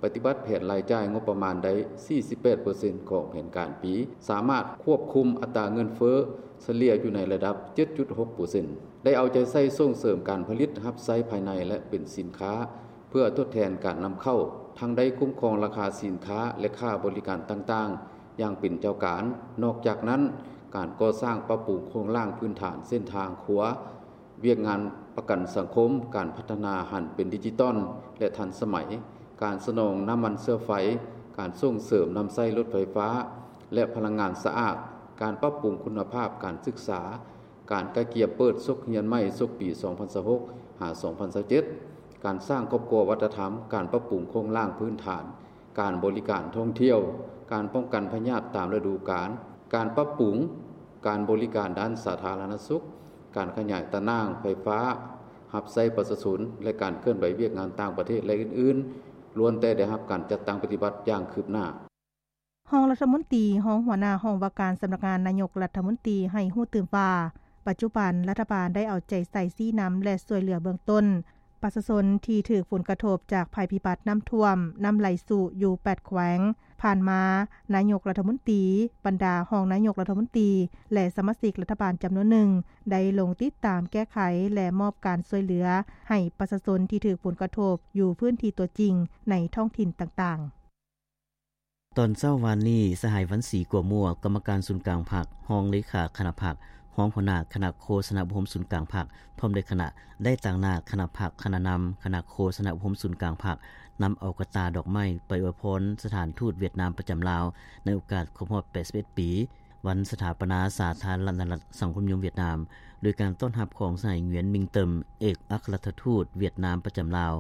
ປະຕິບັດແຜນລາຍຈ່າຍງົບປະມານໄດ້ ສີ່ສິບແປດເປີເຊັນຂອງແຜນການປີ, ສາມາດຄວບຄຸມອັດຕາເງິນເຟີ້ສະເລ່ຍຢູ່ໃນລະດັບ ເຈັດຈຸດຫົກເປີເຊັນ, ໄດ້ເອົາໃຈໃສ່ສົ່ງເສີມການຜະລິດຮັບໃຊ້ພາຍໃນ ແລະ ເປັນສິນຄ້າເພື່ອທົດແທນການນຳເຂົ້າ, ທັງໄດ້ຄຸ້ມຄອງລາຄາສິນຄ້າ ແລະ ຄ່າບໍລິການຕ່າງໆຢ່າງເປັນເຈົ້າການ. ນອກຈາກນັ້ນ, ການກໍ່ສ້າງປັບປຸງໂຄງລ່າງພື້ນຖານເສັ້ນທາງຂົວ, ວຽກງານປະກັນສັງຄົມ, ການພັດທະນາຫັນເປັນດິຈິຕອນ ແລະ ທັນສະໄໝ, ການສະໜອງນ້ຳມັນເຊື້ອໄຟ, ການສົ່ງເສີມນຳໃຊ້ລົດໄຟຟ້າ ແລະ ພະລັງງານສະອາດ, ການປັບປຸງຄຸນນະພາບການສຶກສາ, ການກະກຽມເປີດສົກຮຽນໃໝ່ສົກປີສອງພັນຊາວຫົກ ຫາ ສອງພັນຊາວເຈັດ, ການສ້າງຄອບຄົວວັດທະນະທຳ, ການປັບປຸງໂຄງລ່າງພື້ນຖານ, ການບໍລິການທ່ອງທ່ຽວ, ການປ້ອງກັນພະຍາດຕາມລະດູການ, ການປັບປຸງການບໍລິການດ້ານສາທາລະນະສຸກ, ການຂະຫຍາຍຕາໜ່າງໄຟຟ້າຮັບໃຊ້ປະຊາຊົນ ແລະ ການເຄື່ອນໄຫວວຽກງານຕ່າງປະເທດ ແລະ ອື່ນໆ, ລ້ວນແຕ່ໄດ້ຮັບການຈັດຕັ້ງປະຕິບັດຢ່າງຄືບໜ້າ. ຮອງລັດຖະມົນຕີ ຮອງຫົວໜ້າຫ້ອງວ່າການສຳນັກງານນາຍົກລັດຖະມົນຕີ ໃຫ້ຮູ້ຕື່ມວ່າ ປັດຈຸບັນລັດຖະບານໄດ້ເອົາໃຈໃສ່ຊີ້ນຳ ແລະ ຊ່ວຍເຫຼືອເບື້ອງຕົ້ນ ປະຊາຊົນທີ່ຖືກຜົນກະທົບຈາກໄພພິບັດນ້ຳຖ້ວມ, ນ້ຳໄຫຼຊຸຢູ່ແປດແຂວງ. ຜ່ານມາ, ນາຍົກລັດຖະມົນຕີ, ບັນດາຮອງນາຍົກລັດຖະມົນຕີ ແລະ ສະມາຊິກລັດຖະບານຈຳນວນໜຶ່ງ ໄດ້ລົງຕິດຕາມແກ້ໄຂ ແລະ ມອບການຊ່ວຍເຫຼືອໃຫ້ປະຊາຊົນທີ່ຖືກຜົນກະທົບຢູ່ພື້ນທີ່ຕົວຈິງໃນທ້ອງຖິ່ນຕ່າງໆ. ຕອນເຊົ້າວວານນີ້, ສະຫາຍ ວັນສີ ກົວມົວ, ກຳມະການສູນກາງພັກ, ຮອງເລຂາຄະນະພັກ, ຮອງຫົວໜ້າຄະນະໂຄສະນາອົບຮົມສູນກາງພັກ ພ້ອມດ້ວຍຄະນະ ໄດ້ຕາງໜ້າຄະນະພັກ, ຄະນະນຳຄະນະໂຄສະນາອົບຮົມສູນກາງພັກ ນຳເອົາກະຕ່າດອກໄມ້ໄປອວຍພອນສະຖານທູດຫວຽດນາມປະຈຳລາວ ໃນໂອກາດຄົບຮອບແປດສິບເອັດປີ ວັນສະຖາປະນາສາທາລະນະລັດສັງຄົມນິຍົມຫວຽດນາມ ໂດຍການຕ້ອນຮັບຂອງສະຫາຍ ຫງວຽນ ມິງເຕີມ ເອກອັກຄະລັດຖະທູດຫວຽດນາມປະຈຳລາວ.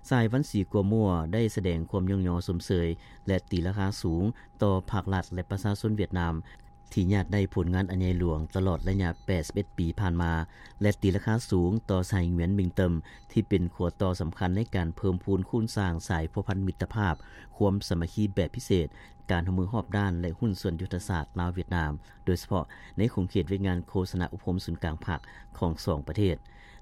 ສະຫາຍ ວັນສີ ກົວມົວ ໄດ້ສະແດງຄວາມຍ້ອງຍໍຊົມເຊີຍ ແລະ ຕີລາຄາສູງຕໍ່ພາກລັດ ແລະ ປະຊາຊົນຫວຽດນາມ ທີ່ຍາດໄດ້ຜົນງານອັນໃຫຍ່ຫຼວງຕະຫຼອດໄລຍະແປດສິບເອັດປີຜ່ານມາ ແລະ ຕີລາຄາສູງຕໍ່ສະຫາຍ ຫງວຽນ ມິງເຕີມ ທີ່ເປັນຂົວຕໍ່ສຳຄັນໃນການເພີ່ມພູນຄູນສ້າງສາຍພົວພັນມິດຕະພາບ, ຄວາມສາມັກຄີແບບພິເສດ, ການຮ່ວມມືຮອບດ້ານ ແລະ ຫຸ້ນສ່ວນຍຸດທະສາດລາວ-ຫວຽດນາມ, ໂດຍສະເພາະໃນຂົງເຂດວຽກງານໂຄສະນາອົບຮົມສູນກາງພັກຂອງສອງປະເທດ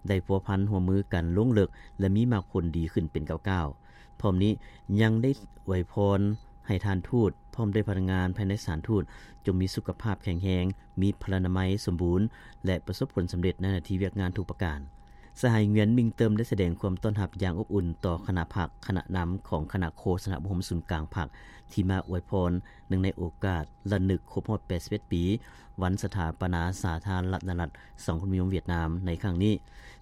ໄດ້ພົວພັນຮ່ວມມືກັນລົງເລິກ ແລະ ມີໝາກຜົນດີຂຶ້ນເປັນກ້າວໆ. ພ້ອມນີ້ຍັງໄດ້ອວຍພອນໃຫ້ທ່ານທູດ ພ້ອມດ້ວຍພະນັກງານພາຍໃນສະຖານທູດ ຈົ່ງມີສຸຂະພາບແຂງແຮງ, ມີພະລານາໄມສົມບູນ ແລະ ປະສົບຜົນສຳເລັດໃນໜ້າທີ່ວຽກງານທຸກປະການ. ສະຫາຍ ຫງວຽນ ມິງເຕີມ ໄດ້ສະແດງຄວາມຕ້ອນຮັບຢ່າງອົບອຸ່ນຕໍ່ຄະນະພັກ, ຄະນະນຳຂອງຄະນະໂຄສະນາອົບຮົມສູນກາງພັກ ທີ່ມາອວຍພອນ ເນື່ອງໃນໂອກາດລະນຶກຄົບຮອບແປດສິບເອັດປີ ວັນສະຖາປະນາສາທາລະນະລັດສັງຄົມນິຍົມຫວຽດນາມໃນຄັ້ງນີ້,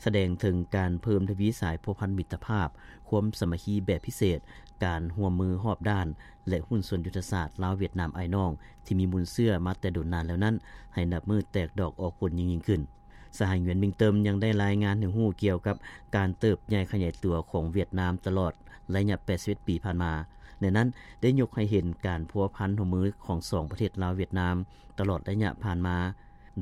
ສະແດງເຖິງການເພີ່ມທະວີສາຍພົວພັນມິດຕະພາບ, ຄວາມສາມັກຄີແບບພິເສດ, ການຮ່ວມມືຮອບດ້ານ ແລະ ຫຸ້ນສ່ວນຍຸດທະສາດລາວ-ຫວຽດນາມອ້າຍນ້ອງ ທີ່ມີມູນເຊື້ອມາແຕ່ດົນນານແລ້ວນັ້ນ ໃຫ້ນັບມື້ແຕກດອກອອກຜົນຍິ່ງໆຂຶ້ນ. ສະຫາຍ ຫງວຽນ ມິງເຕີມ ຍັງໄດ້ລາຍງານໃຫ້ຮູ້ກ່ຽວກັບການເຕີບໃຫຍ່ຂະຫຍາຍຕົວຂອງຫວຽດນາມຕະຫຼອດໄລຍະແປດສິບເອັດປີຜ່ານມາ. ໃນນັ້ນໄດ້ຍົກໃຫ້ເຫັນການພົວພັນຮ່ວມມືຂອງສອງປະເທດລາວ-ຫວຽດນາມ ຕະຫຼອດໄລຍະຜ່ານມາ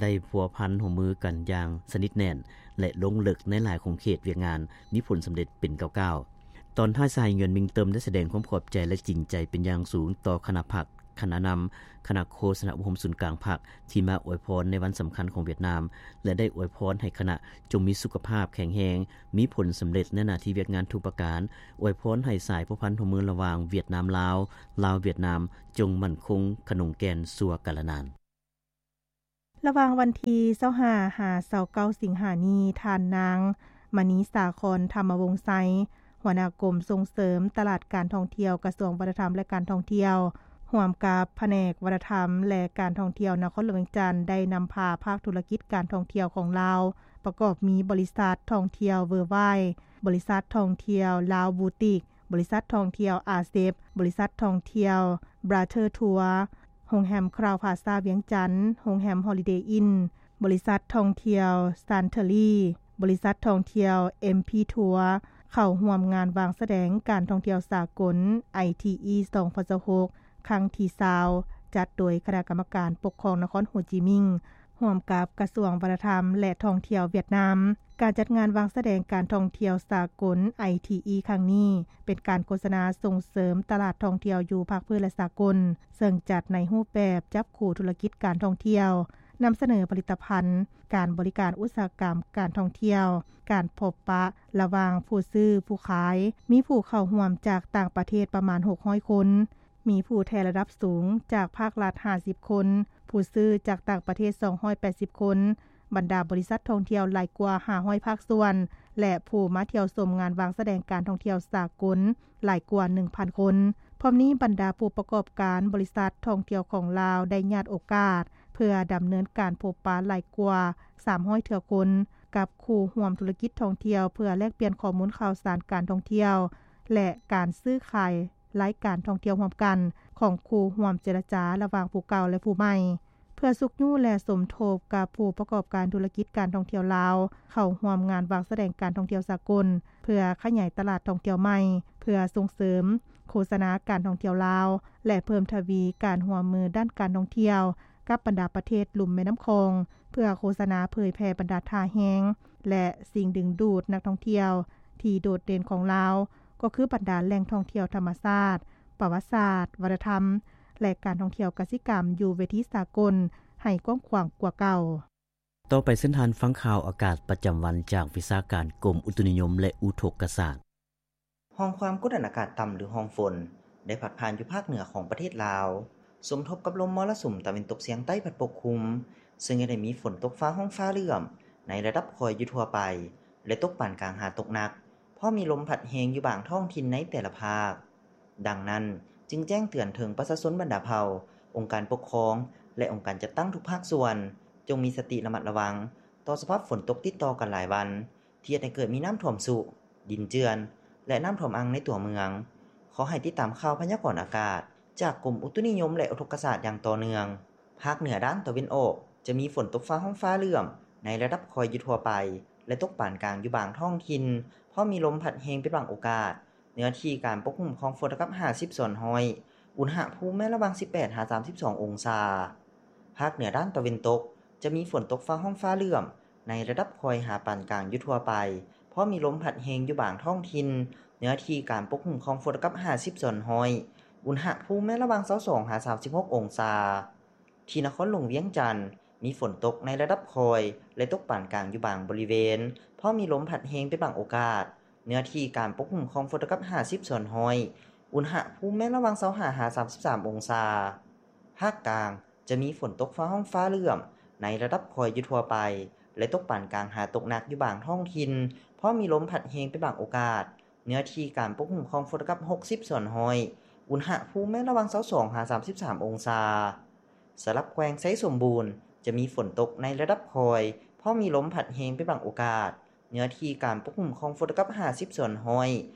ໄດ້ພົວພັນຮ່ວມມືກັນຢ່າງສະໜິດແໜ້ນ ແລະ ລົງເລິກໃນຫຼາຍຂົງເຂດວຽກງານ ມີຜົນສຳເລັດເປັນກ້າວໆ. ຕອນທ້າຍ, ສະຫາຍ ຫງວຽນ ມິງເຕີມ ໄດ້ສະແດງຄວາມຂອບໃຈ ແລະ ຈິງໃຈເປັນຢ່າງສູງຕໍ່ຄະນະພັກ, ຄະນະນຳ, ຄະນະໂຄສະນາອົບຮົມສູນກາງພັກ ທີ່ມາອວຍພອນໃນວັນສຳຄັນຂອງຫວຽດນາມ ແລະ ໄດ້ອວຍພອນໃຫ້ຄະນະຈົ່ງມີສຸຂະພາບແຂງແຮງ, ມີຜົນສຳເລັດໃນໜ້າທີ່ວຽກງານທຸກປະການ, ອວຍພອນໃຫ້ສາຍພົວພັນຮ່ວມມືລະຫວ່າງຫວຽດນາມ-ລາວ, ລາວ-ຫວຽດນາມ ຈົ່ງໝັ້ນຄົງຂະໜົງແກ່ນຊົ່ວກາລະນານ. ລະຫວ່າງວັນທີຊາວຫ້າ ຫາ ຊາວເກົ້າ ສິງຫານີ້, ທ່ານນາງ ມະນີສາຄອນ ທຳມະວົງໄຊ, ຫົວໜ້າກົມສົ່ງເສີມຕະຫຼາດການທ່ອງທ່ຽວ ກະຊວງວັດທະນະທຳ ແລະ ການທ່ອງທ່ຽວ, ຮ່ວມກັບພະແນກວັດທະນະທຳ ແລະ ການທ່ອງທ່ຽວນະຄອນຫຼວງວຽງຈັນ ໄດ້ນຳພາພາກທຸລະກິດການທ່ອງທ່ຽວຂອງລາວ ປະກອບມີບໍລິສັດທ່ອງທ່ຽວເວີວາຍ, ບໍລິສັດທ່ອງທ່ຽວລາວບູຕິກ, ບໍລິສັດທ່ອງທ່ຽວອາເຊັບ, ບໍລິສັດທ່ອງທ່ຽວບຣາເທີທົວ, ໂຮງແຮມຄຣາວພລາຊາວຽງຈັນ, ໂຮງແຮມຮອລິເດອິນ, ບໍລິສັດທ່ອງທ່ຽວຊານເທີຣີ, ບໍລິສັດທ່ອງທ່ຽວເອັມພີທົວ ເຂົ້າຮ່ວມງານວາງສະແດງການທ່ອງທ່ຽວສາກົນ ໄອທີອີ ສອງພັນຊາວຫົກ ຄັ້ງທີຊາວ ຈັດໂດຍຄະນະກຳມະການປົກຄອງນະຄອນໂຮຈິມິງ ຮ່ວມກັບກະຊວງວັດທະນະທຳ ແລະ ທ່ອງທ່ຽວຫວຽດນາມ. ການຈັດງານວາງສະແດງການທ່ອງທ່ຽວສາກົນ ໄອທີອີ ຄັ້ງນີ້ ເປັນການໂຄສະນາສົ່ງເສີມຕະຫຼາດທ່ອງທ່ຽວຢູ່ພາກພື້ນ ແລະ ສາກົນ, ເຊິ່ງຈັດໃນຮູບແບບຈັບຄູ່ທຸລະກິດການທ່ອງທ່ຽວ, ນຳສະເໜີຜະລິດຕະພັນ, ການບໍລິການອຸດສາຫະກຳການທ່ອງທ່ຽວ, ການພົບປະລະຫວ່າງຜູ້ຊື້ຜູ້ຂາຍ, ມີຜູ້ເຂົ້າຮ່ວມຈາກຕ່າງປະເທດປະມານຫົກຮ້ອຍຄົນ. ມີຜູ້ແທນລະດັບສູງຈາກພາກລັດຫ້າສິບຄົນ, ຜູ້ຊື້ຈາກຕ່າງປະເທດສອງຮ້ອຍແປດສິບຄົນ, ບັນດາບໍລິສັດທ່ອງທ່ຽວຫຼາຍກວ່າຫ້າຮ້ອຍພາກສ່ວນ ແລະ ຜູ້ມາທ່ຽວຊົມງານວາງສະແດງການທ່ອງທ່ຽວສາກົນຫຼາຍກວ່າໜຶ່ງພັນຄົນ. ພ້ອມນີ້ບັນດາຜູ້ປະກອບການບໍລິສັດທ່ອງທ່ຽວຂອງລາວໄດ້ຍາດໂອກາດ ເພື່ອດຳເນີນການພົບປະຫຼາຍກວ່າສາມຮ້ອຍເທື່ອຄົນ ກັບຄູ່ຮ່ວມທຸລະກິດທ່ອງທ່ຽວ ເພື່ອແລກປ່ຽນຂໍ້ມູນຂ່າວສານການທ່ອງທ່ຽວ ແລະ ການຊື້ຂາຍ ລາຍການທ່ອງທ່ຽວຮ່ວມກັນຂອງຄູ່ຮ່ວມເຈລະຈາລະຫວ່າງຜູ້ເກົ່າ ແລະ ຜູ້ໃໝ່ ເພື່ອຊຸກຍູ້ ແລະ ສົມທົບກັບຜູ້ປະກອບການທຸລະກິດການທ່ອງທ່ຽວລາວ ເຂົ້າຮ່ວມງານວາງສະແດງການທ່ອງທ່ຽວສາກົນ ເພື່ອຂະຫຍາຍຕະຫຼາດທ່ອງທ່ຽວໃໝ່, ເພື່ອສົ່ງເສີມໂຄສະນາການທ່ອງທ່ຽວລາວ ແລະ ເພີ່ມທະວີການຮ່ວມມືດ້ານການທ່ອງທ່ຽວກັບບັນດາປະເທດລຸ່ມແມ່ນ້ຳຂອງ, ເພື່ອໂຄສະນາເຜີຍແຜ່ບັນດາທ່າແຮງ ແລະ ສິ່ງດຶງດູດນັກທ່ອງທ່ຽວທີ່ໂດດເດັ່ນຂອງລາວ ກໍຄືບັນດາແຫຼ່ງທ່ອງທ່ຽວທຳມະຊາດ, ປະຫວັດສາດ, ວັດທະນະທຳ, ແລະ ການທ່ອງທ່ຽວກະສິກຳຢູ່ເວທີສາກົນໃຫ້ກວ້າງຂວາງກວ່າເກົ່າ. ຕໍ່ໄປເຊີນທ່ານຟັງຂ່າວອາກາດປະຈຳວັນຈາກວິຊາການກົມອຸຕຸນິຍົມ ແລະ ອຸທົກກະສາດ. ຮ່ອງຄວາມກົດອາກາດຕ່ຳ ຫຼື ຮ່ອງຝົນ ໄດ້ພັດຜ່ານຢູ່ພາກເໜືອຂອງປະເທດລາວ, ສົມທົບກັບລົມມໍລະສຸມຕາເວັນຕົກສຽງໃຕ້ພັດປົກຄຸມ, ເຊິ່ງຈະໄດ້ມີຝົນຕົກຟ້າຮ້ອງຟ້າເຫຼື້ອມໃນລະດັບຄ່ອຍຢູ່ທົ່ວໄປ ແລະ ຕົກປານກາງຫາຕົກໜັກ, ພ້ອມມີລົມພັດແຮງຢູ່ບາງທ້ອງຖິ່ນໃນແຕ່ລະພາກ. ດັ່ງນັ້ນ, ຈຶ່ງແຈ້ງເຕືອນເຖິງປະຊາຊົນບັນດາເຜົ່າ, ອົງການປົກຄອງ ແລະ ອົງການຈັດຕັ້ງທຸກພາກສ່ວນ, ຈົ່ງມີສະຕິລະມັດລະວັງຕໍ່ສະພາບຝົນຕົກຕິດຕໍ່ກັນຫຼາຍວັນ, ທີ່ເຮັດໃຫ້ເກີດມີນ້ຳຖ້ວມຊຸ, ດິນເຈື່ອນ ແລະ ນ້ຳຖ້ວມອັ່ງໃນຕົວເມືອງ. ຂໍໃຫ້ຕິດຕາມຂ່າວພະຍາກອນອາກາດຈາກກົມອຸຕຸນິຍົມ ແລະ ອຸທົກກະສາດຢ່າງຕໍ່ເນື່ອງ. ພາກເໜືອດ້ານຕາເວັນອອກ ຈະມີຝົນຕົກຟ້າຮ້ອງຟ້າເຫຼື້ອມໃນລະດັບຄ່ອຍຢູ່ທົ່ວໄປ ແລະ ຕົກປານກາງຢູ່ບາງທ້ອງຖິ່ນ, ພ້ອມມີລົມພັດແຮງເປັນບາງໂອກາດ. ເນື້ອທີ່ການປົກຄຸມຂອງຝົນເທົ່າກັບຫ້າສິບສ່ວນຮ້ອຍ, ອຸນຫະພູມແມ່ນລະຫວ່າງສິບແປດຫາສາມສິບສອງອົງສາ. ພາກເໜືອດ້ານຕາເວັນຕົກ ຈະມີຝົນຕົກຟ້າຮ້ອງຟ້າເຫຼື້ອມໃນລະດັບຄ່ອຍຫາປານກາງຢູ່ທົ່ວໄປ, ພ້ອມມີລົມພັດແຮງຢູ່ບາງທ້ອງຖິ່ນ. ເນື້ອທີ່ການປົກຄຸມຂອງຝົນເທົ່າກັບຫ້າສິບສ່ວນຮ້ອຍ, ອຸນຫະພູມແມ່ນລະຫວ່າງຊາວສອງຫາສາມສິບຫົກອົງສາ. ທີ່ນະຄອນຫຼວງວຽງຈັນ ມີຝົນຕົກໃນລະດັບຄ່ອຍ ແລະ ຕົກປານກາງຢູ່ບາງບໍລິເວນ, ພ້ອມມີລົມພັດແຮງເປັນບາງໂອກາດ. ເນື້ອທີ່ການປົກຄຸມຂອງຝົນເທົ່າກັບຫ້າສິບສ່ວນຮ້ອຍ, ອຸນຫະພູມແມ່ນລະຫວ່າງຊາວຫ້າຫາສາມສິບສາມອົງສາ. ພາກກາງ ຈະມີຝົນຕົກຟ້າຮ້ອງຟ້າເຫຼື້ອມໃນລະດັບຄ່ອຍຢູ່ທົ່ວໄປ ແລະ ຕົກປານກາງຫາຕົກໜັກຢູ່ບາງທ້ອງຖິ່ນ, ພ້ອມມີລົມພັດແຮງເປັນບາງໂອກາດ. ເນື້ອທີ່ການປົກຄຸມຂອງຝົນເທົ່າກັບຫົກສິບສ່ວນຮ້ອຍ, ອຸນຫະພູມແມ່ນລະຫວ່າງຊາວສອງຫາສາມສິບສາມອົງສາ. ສຳລັບແຂວງໄຊສົມບູນ ຈະມີຝົນຕົກໃນລະດັບຄ່ອຍ, ພ້ອມມີລົມພັດແຮງເປັນບາງໂອກາດ. ເນື້ອທີ່ການປົກຄຸມຂອງຝົນເທົ່າກັບຫ້າສິບສ່ວນຮ້ອຍ,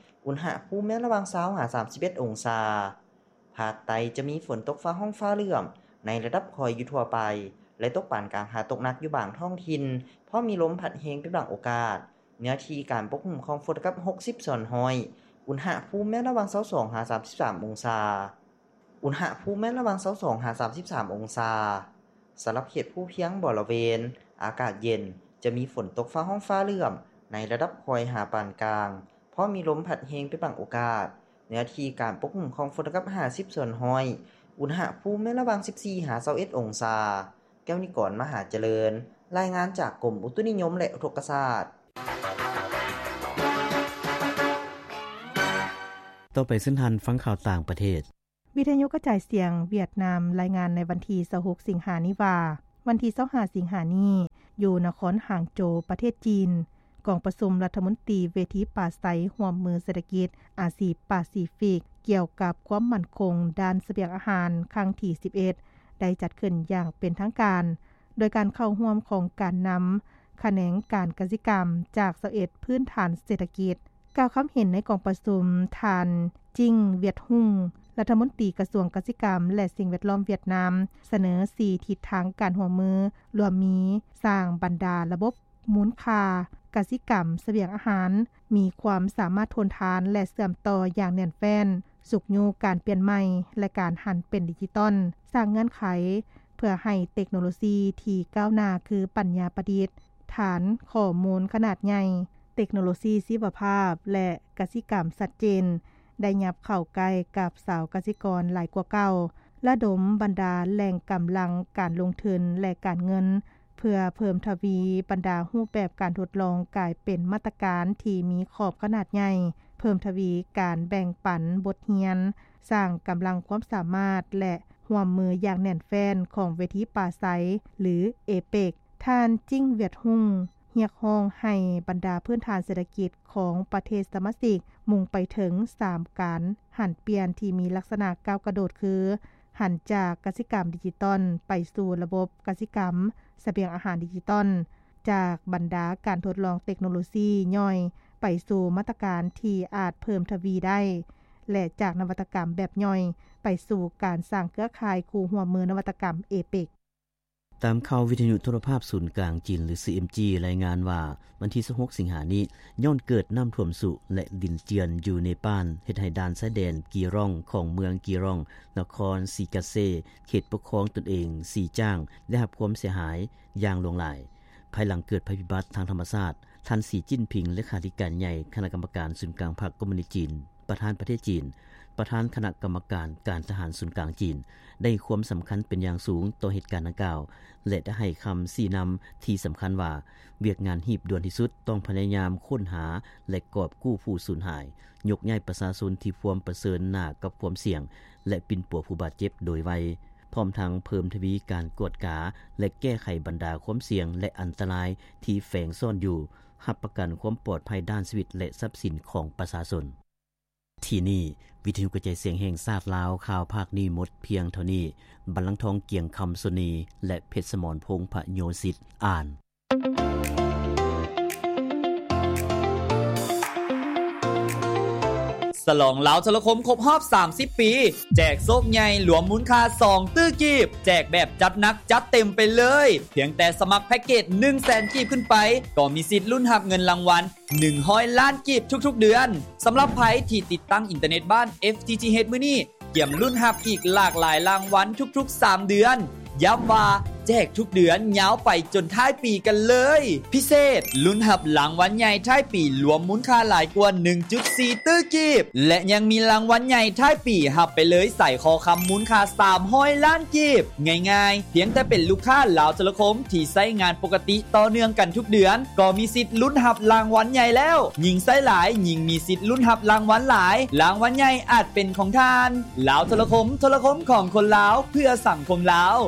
ອຸນຫະພູມແມ່ນລະຫວ່າງຊາວຫາສາມສິບເອັດອົງສາ. ພາກໃຕ້ຈະມີຝົນຕົກຟ້າຮ້ອງຟ້າເຫຼື້ອມໃນລະດັບຄ່ອຍຢູ່ທົ່ວໄປ ແລະ ຕົກປານກາງຫາຕົກໜັກຢູ່ບາງທ້ອງຖິ່ນ, ພ້ອມມີລົມພັດແຮງເປັນບາງໂອກາດ. ເນື້ອທີ່ການປົກຄຸມຂອງຝົນເທົ່າກັບຫົກສິບສ່ວນຮ້ອຍ, ອຸນຫະພູມແມ່ນລະຫວ່າງຊາວສອງຫາສາມສິບສາມອົງສາ. ອຸນຫະພູມແມ່ນລະຫວ່າງຊາວສອງຫາສາມສິບສາມອົງສາ. ສຳລັບເຂດພູພຽງບໍລະເວນ ອາກາດເຢັນ, ຈະມີຝົນຕົກຟ້າຮ້ອງຟ້າເຫຼື້ອມໃນລະດັບຄ່ອຍຫາປານກາງ, ພ້ອມມີລົມພັດແຮງເປັນບາງໂອກາດ. ເນື້ອທີ່ການປົກຄຸມຂອງຝົນເທົ່າກັບຫ້າສິບສ່ວນຮ້ອຍ, ອຸນຫະພູມແມ່ນລະຫວ່າງສິບສີ່ຫາຊາວເອັດອົງສາ. ແກ້ວນິກອນ ມະຫາຈະເລີນ, ລາຍງານຈາກກົມອຸຕຸນິຍົມ ແລະ ອຸທົກກະສາດ. ຕໍ່ໄປເຊີນທ່ານຟັງຂ່າວຕ່າງປະເທດ. ວິທະຍຸກະຈາຍສຽງຫວຽດນາມລາຍງານໃນວັນທີຊາວຫົກສິງຫານີ້ວ່າ, ວັນທີຊາວຫ້າສິງຫານີ້ ຢູ່ນະຄອນຫາງໂຈວ ປະເທດຈີນ, ກອງປະຊຸມລັດຖະມົນຕີເວທີປາໄສຮ່ວມມືເສດຖະກິດອາຊີປາຊີຟິກ ກ່ຽວກັບຄວາມໝັ້ນຄົງດ້ານສະບຽງອາຫານຄັ້ງທີສິບເອັດ ໄດ້ຈັດຂຶ້ນຢ່າງເປັນທາງການ, ໂດຍການເຂົ້າຮ່ວມຂອງການນຳຂະແໜງການກະສິກຳຈາກຊາວເອັດພື້ນຖານເສດຖະກິດ. ກ່າວຄຳເຫັນໃນກອງປະຊຸມ, ທ່ານ ຈິງ ວຽດຮຸງ ລັດຖະມົນຕີກະຊວງກະສິກຳ ແລະ ສິ່ງແວດລ້ອມຫວຽດນາມ ສະເໜີສີ່ທິດທາງການຮ່ວມມື, ລວມມີ ສ້າງບັນດາລະບົບມູນຄ່າກະສິກຳສະບຽງອາຫານ ມີຄວາມສາມາດທົນທານ ແລະ ເຊື່ອມຕໍ່ຢ່າງແໜ້ນແຟ້ນ, ຊຸກຍູ້ການປ່ຽນໃໝ່ ແລະ ການຫັນເປັນດິຈິຕອນ, ສ້າງເງື່ອນໄຂ ເພື່ອໃຫ້ເຕັກໂນໂລຊີທີ່ກ້າວໜ້າຄືປັນຍາປະດິດ, ຖານຂໍ້ມູນຂະໜາດໃຫຍ່, ເຕັກໂນໂລຊີຊີວະພາບ ແລະ ກະສິກຳຊັດເຈນ ໄດ້ຫຍັບເຂົ້າໃກ້ກັບຊາວກະສິກອນຫຼາຍກວ່າເກົ່າ, ລະດົມບັນດາແຫຼ່ງກຳລັງການລົງທຶນ ແລະ ການເງິນ ເພື່ອເພີ່ມທະວີບັນດາຮູບແບບການທົດລອງກາຍເປັນມາດຕະການທີ່ມີຂອບຂະໜາດໃຫຍ່, ເພີ່ມທະວີການແບ່ງປັນບົດຮຽນ, ສ້າງກຳລັງຄວາມສາມາດ ແລະ ຮ່ວມມືຢ່າງແໜ້ນແຟ້ນຂອງເວທີປາໄສ ຫຼື ເອເປັກ. ທ່ານ ຈິງ ວຽດຮຸງ ຮຽກຮ້ອງໃຫ້ບັນດາພື້ນຖານເສດຖະກິດຂອງປະເທດສະມາຊິກ ມຸ່ງໄປເຖິງສາມການຫັນປ່ຽນທີ່ມີລັກສະນະກ້າວກະໂດດ ຄື ຫັນຈາກກະສິກຳດິຈິຕອນໄປສູ່ລະບົບກະສິກຳສະບຽງອາຫານດິຈິຕອນ, ຈາກບັນດາການທົດລອງເຕັກໂນໂລຊີຍ່ອຍໄປສູ່ມາດຕະການທີ່ອາດເພີ່ມທະວີໄດ້ ແລະ ຈາກນະວັດຕະກຳແບບຍ່ອຍໄປສູ່ການສ້າງເຄືອຂ່າຍຄູ່ຮ່ວມມືນະວັດຕະກຳ ເອເປັກ. ຕາມຂ່າວວິທະຍຸໂທລະພາບສູນກາງຈີນ ຫຼື ຊີ ເອັມ ຈີ ລາຍງານວ່າ ວັນທີຊາວຫົກສິງຫານີ້ ຍ້ອນເກີດນ້ຳຖ້ວມຊຸ ແລະ ດິນເຈື່ອນຢູ່ເນປານ ເຮັດໃຫ້ດ່ານຊາຍແດນກີຣອງ ຂອງເມືອງກີຣອງ ນະຄອນສີກາເຊ ເຂດປົກຄອງຕົນເອງສີຈ້າງ ໄດ້ຮັບຄວາມເສຍຫາຍຢ່າງຫຼວງຫຼາຍ. ພາຍຫຼັງເກີດໄພພິບັດທາງທຳມະຊາດ, ທ່ານ ສີ ຈິ້ນຜິງ ເລຂາທິການໃຫຍ່ຄະນະກຳມະການສູນກາງພັກຄອມມູນິດຈີນ ປະທານປະເທດຈີນ ປະທານຄະນະກຳມະການການທະຫານສູນກາງຈີນ ໄດ້ໃຫ້ຄວາມສຳຄັນເປັນຢ່າງສູງຕໍ່ເຫດການດັ່ງກ່າວ ແລະ ໄດ້ໃຫ້ຄຳຊີ້ນຳທີ່ສຳຄັນວ່າ ວຽກງານຮີບດ່ວນທີ່ສຸດຕ້ອງພະຍາຍາມຄົ້ນຫາ ແລະ ກອບກູ້ຜູ້ສູນຫາຍ, ຍົກຍ້າຍປະຊາຊົນທີ່ພວມປະເຊີນໜ້າກັບຄວາມສ່ຽງ ແລະ ປິ່ນປົວຜູ້ບາດເຈັບໂດຍໄວ, ພ້ອມທັງເພີ່ມທະວີການກວດກາ ແລະ ແກ້ໄຂບັນດາຄວາມສ່ຽງ ແລະ ອັນຕະລາຍທີ່ແຝງຊ້ອນຢູ່, ຮັບປະກັນຄວາມປອດໄພດ້ານຊີວິດ ແລະ ຊັບສິນຂອງປະຊາຊົນ. ທີ່ນີ້ ວິທະຍຸກະຈາຍສຽງແຫ່ງຊາດລາວ ຂ່າວພາກນີ້ໝົດພຽງເທົ່ານີ້. ບັນລັງທອງ ກຽງຄຳ ໂສນີ ແລະ ເພັດສະໝອນ ພົງພະໂຍສິດ ອ່ານ. ສະຫຼອງລາວໂທລະຄົມຄົບຮອບສາມສິບປີ ແຈກໂຊກໃຫຍ່ລວມມູນຄ່າສອງຕື້ກີບ, ແຈກແບບຈັດໜັກຈັດເຕັມໄປເລີຍ. ພຽງແຕ່ສະໝັກແພັກເກດໜຶ່ງແສນກີບຂຶ້ນໄປ ກໍມີສິດລຸ້ນຮັບເງິນລາງວັນ ໜຶ່ງຮ້ອຍລ້ານກີບທຸກໆເດືອນ. ສຳລັບໃຜທີ່ຕິດຕັ້ງອິນເຕີເນັດບ້ານ ເອັຟ ທີ ທີ ເອັດ ມື້ນີ້ ກຽມລຸ້ນຮັບອີກຫຼາກຫຼາຍລາງວັນທຸກໆສາມເດືອນ. ຢ້ຳວ່າແຈກທຸກເດືອນຍາວໄປຈົນທ້າຍປີກັນເລີຍ. ພິເສດ, ລຸ້ນຮັບລາງວັນໃຫຍ່ທ້າຍປີລວມມູນຄ່າຫຼາຍກວ່າໜຶ່ງຈຸດສີ່ຕື້ກີບ ແລະ ຍັງມີລາງວັນໃຫຍ່ທ້າຍປີຮັບໄປເລີຍສາຍຄໍຄຳມູນຄ່າສາມຮ້ອຍລ້ານກີບ. ງ່າຍໆ, ພຽງແຕ່ເປັນລູກຄ້າລາວໂທລະຄົມທີ່ໃຊ້ງານປົກກະຕິຕໍ່ເນື່ອງກັນທຸກເດືອນ ກໍມີສິດລຸ້ນຮັບລາງວັນໃຫຍ່ແລ້ວ. ຍິ່ງໃຊ້ຫຼາຍ, ຍິ່ງມີສິດລຸ້ນຮັບລາງວັນຫຼາຍ. ລາງວັນໃຫຍ່ອາດເປັນຂອງທ່ານ. ລາວໂທລະຄົມ, ໂທລະຄົມຂອງຄົນລາວ, ເພື່ອສັງຄົມລາວ.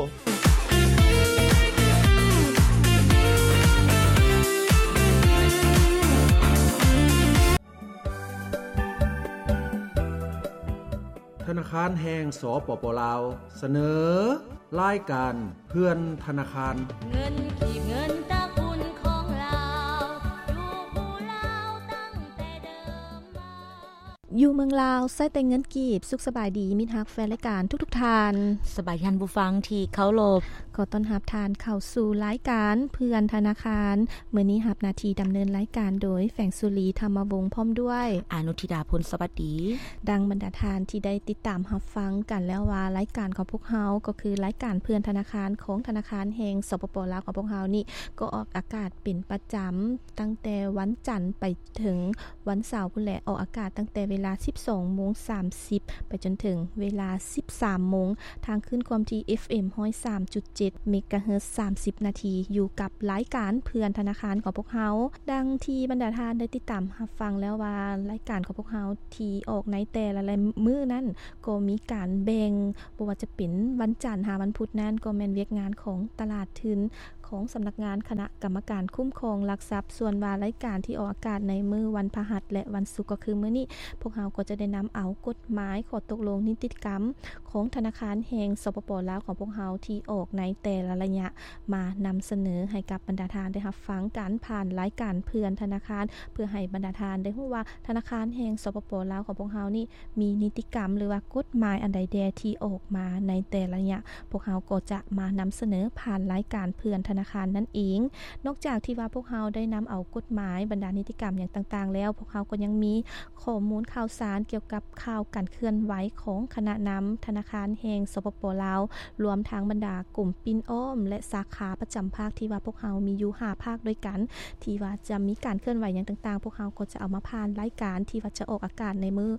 ທະນາຄານແຫ່ງ ສປປ ລາວ ສະເໜີ ລາຍການເພື່ອນທະນາຄານ. ເງິນກີບ ເງິນຕະກຸນຂອງລາວ ຢູ່ຄູ່ລາວຕັ້ງແຕ່ເດີມມາ. ຢູ່ເມືອງລາວໃຊ້ແຕ່ເງິນກີບ. ສຸກສະບາຍດີ ມິດຮັກແຟນລາຍການທຸກໆທ່ານ. ສະບາຍດີທ່ານຜູ້ຟັງທີ່ເຄົາລົບ. ຂໍຕ້ອນຮັບທ່ານເຂົ້າສູ່ລາຍການເພື່ອນທະນາຄານ. ມື້ນີ້ຮັບໜ້າທີ່ດຳເນີນລາຍການໂດຍ ແຝງສຸລີ ທຳມະວົງ ພ້ອມດ້ວຍ ອານຸທິດາ ພົນສະຫວັດດີ. ດັ່ງບັນດາທ່ານທີ່ໄດ້ຕິດຕາມຮັບຟັງກັນແລ້ວວ່າ ລາຍການຂອງພວກເຮົາກໍຄືລາຍການເພື່ອນທະນາຄານຂອງທະນາຄານແຫ່ງ ສປປ ລາວ ຂອງພວກເຮົານີ້ ກໍອອກອາກາດເປັນປະຈຳ ຕັ້ງແຕ່ວັນຈັນໄປເຖິງວັນເສົາພຸ້ນແຫຼະ. ອອກອາກາດຕັ້ງແຕ່ເວລາສິບສອງໂມງສາມສິບ ໄປຈົນເຖິງເວລາສິບສາມໂມງ ທາງຄື້ນຄວາມຖີ່ ເອັຟເອັມ ຮ້ອຍສາມຈຸດເຈັດ ເມກາເຮີດ ສາມສິບນາທີ ຢູ່ກັບລາຍການເພື່ອນທະນາຄານຂອງພວກເຮົາ. ດັ່ງທີ່ບັນດາທ່ານໄດ້ຕິດຕາມຮັບຟັງແລ້ວວ່າ ລາຍການຂອງພວກເຮົາທີ່ອອກໃນແຕ່ລະມື້ນັ້ນ ກໍມີການແບ່ງ ບໍ່ວ່າຈະເປັນວັນຈັນຫາວັນພຸດນັ້ນ ກໍແມ່ນວຽກງານຂອງຕະຫຼາດທຶນ ຂອງສຳນັກງານຄະນະກຳມະການຄຸ້ມຄອງຫຼັກຊັບ. ສ່ວນວ່າລາຍການທີ່ອອກອາກາດໃນມື້ວັນພະຫັດ ແລະ ວັນສຸກ ກໍຄືມື້ນີ້ ພວກເຮົາກໍຈະໄດ້ນຳເອົາກົດໝາຍ, ຂໍ້ຕົກລົງ, ນິຕິກຳຂອງທະນາຄານແຫ່ງ ສປປ ລາວ ຂອງພວກເຮົາທີ່ອອກໃນແຕ່ລະໄລຍະ ມານຳສະເໜີໃຫ້ກັບບັນດາທ່ານໄດ້ຮັບຟັງກັນ ຜ່ານລາຍການເພື່ອນທະນາຄານ ເພື່ອໃຫ້ບັນດາທ່ານໄດ້ຮູ້ວ່າ ທະນາຄານແຫ່ງ ສປປ ລາວ ຂອງພວກເຮົານີ້ ມີນິຕິກຳ ຫຼືວ່າກົດໝາຍອັນໃດແດ່ທີ່ອອກມາໃນແຕ່ລະໄລຍະ, ພວກເຮົາກໍຈະມານຳສະເໜີຜ່ານລາຍການເພື່ອນທະນາຄານນັ້ນເອງ. ນອກຈາກທີ່ວ່າພວກເຮົາໄດ້ນຳເອົາກົດໝາຍ, ບັນດານິຕິກຳຫຍັງຕ່າງໆແລ້ວ, ພວກເຮົາກໍຍັງມີຂໍ້ມູນຂ່າວສານກ່ຽວກັບຂ່າວການເຄື່ອນໄຫວຂອງຄະນະນຳທະນາຄານແຫ່ງ ສປປ ລາວ, ລວມທັງບັນດາກົມປິ່ນອ້ອມ ແລະ ສາຂາປະຈຳພາກ ທີ່ວ່າພວກເຮົາມີຢູ່ຫ້າພາກດ້ວຍກັນ ທີ່ວ່າຈະມີການເຄື່ອນໄຫວຫຍັງຕ່າງໆ, ພວກເຮົາກໍຈະເອົາມາຜ່ານລາຍການທີ່ວ່າຈະອອກອາກາດໃນມື້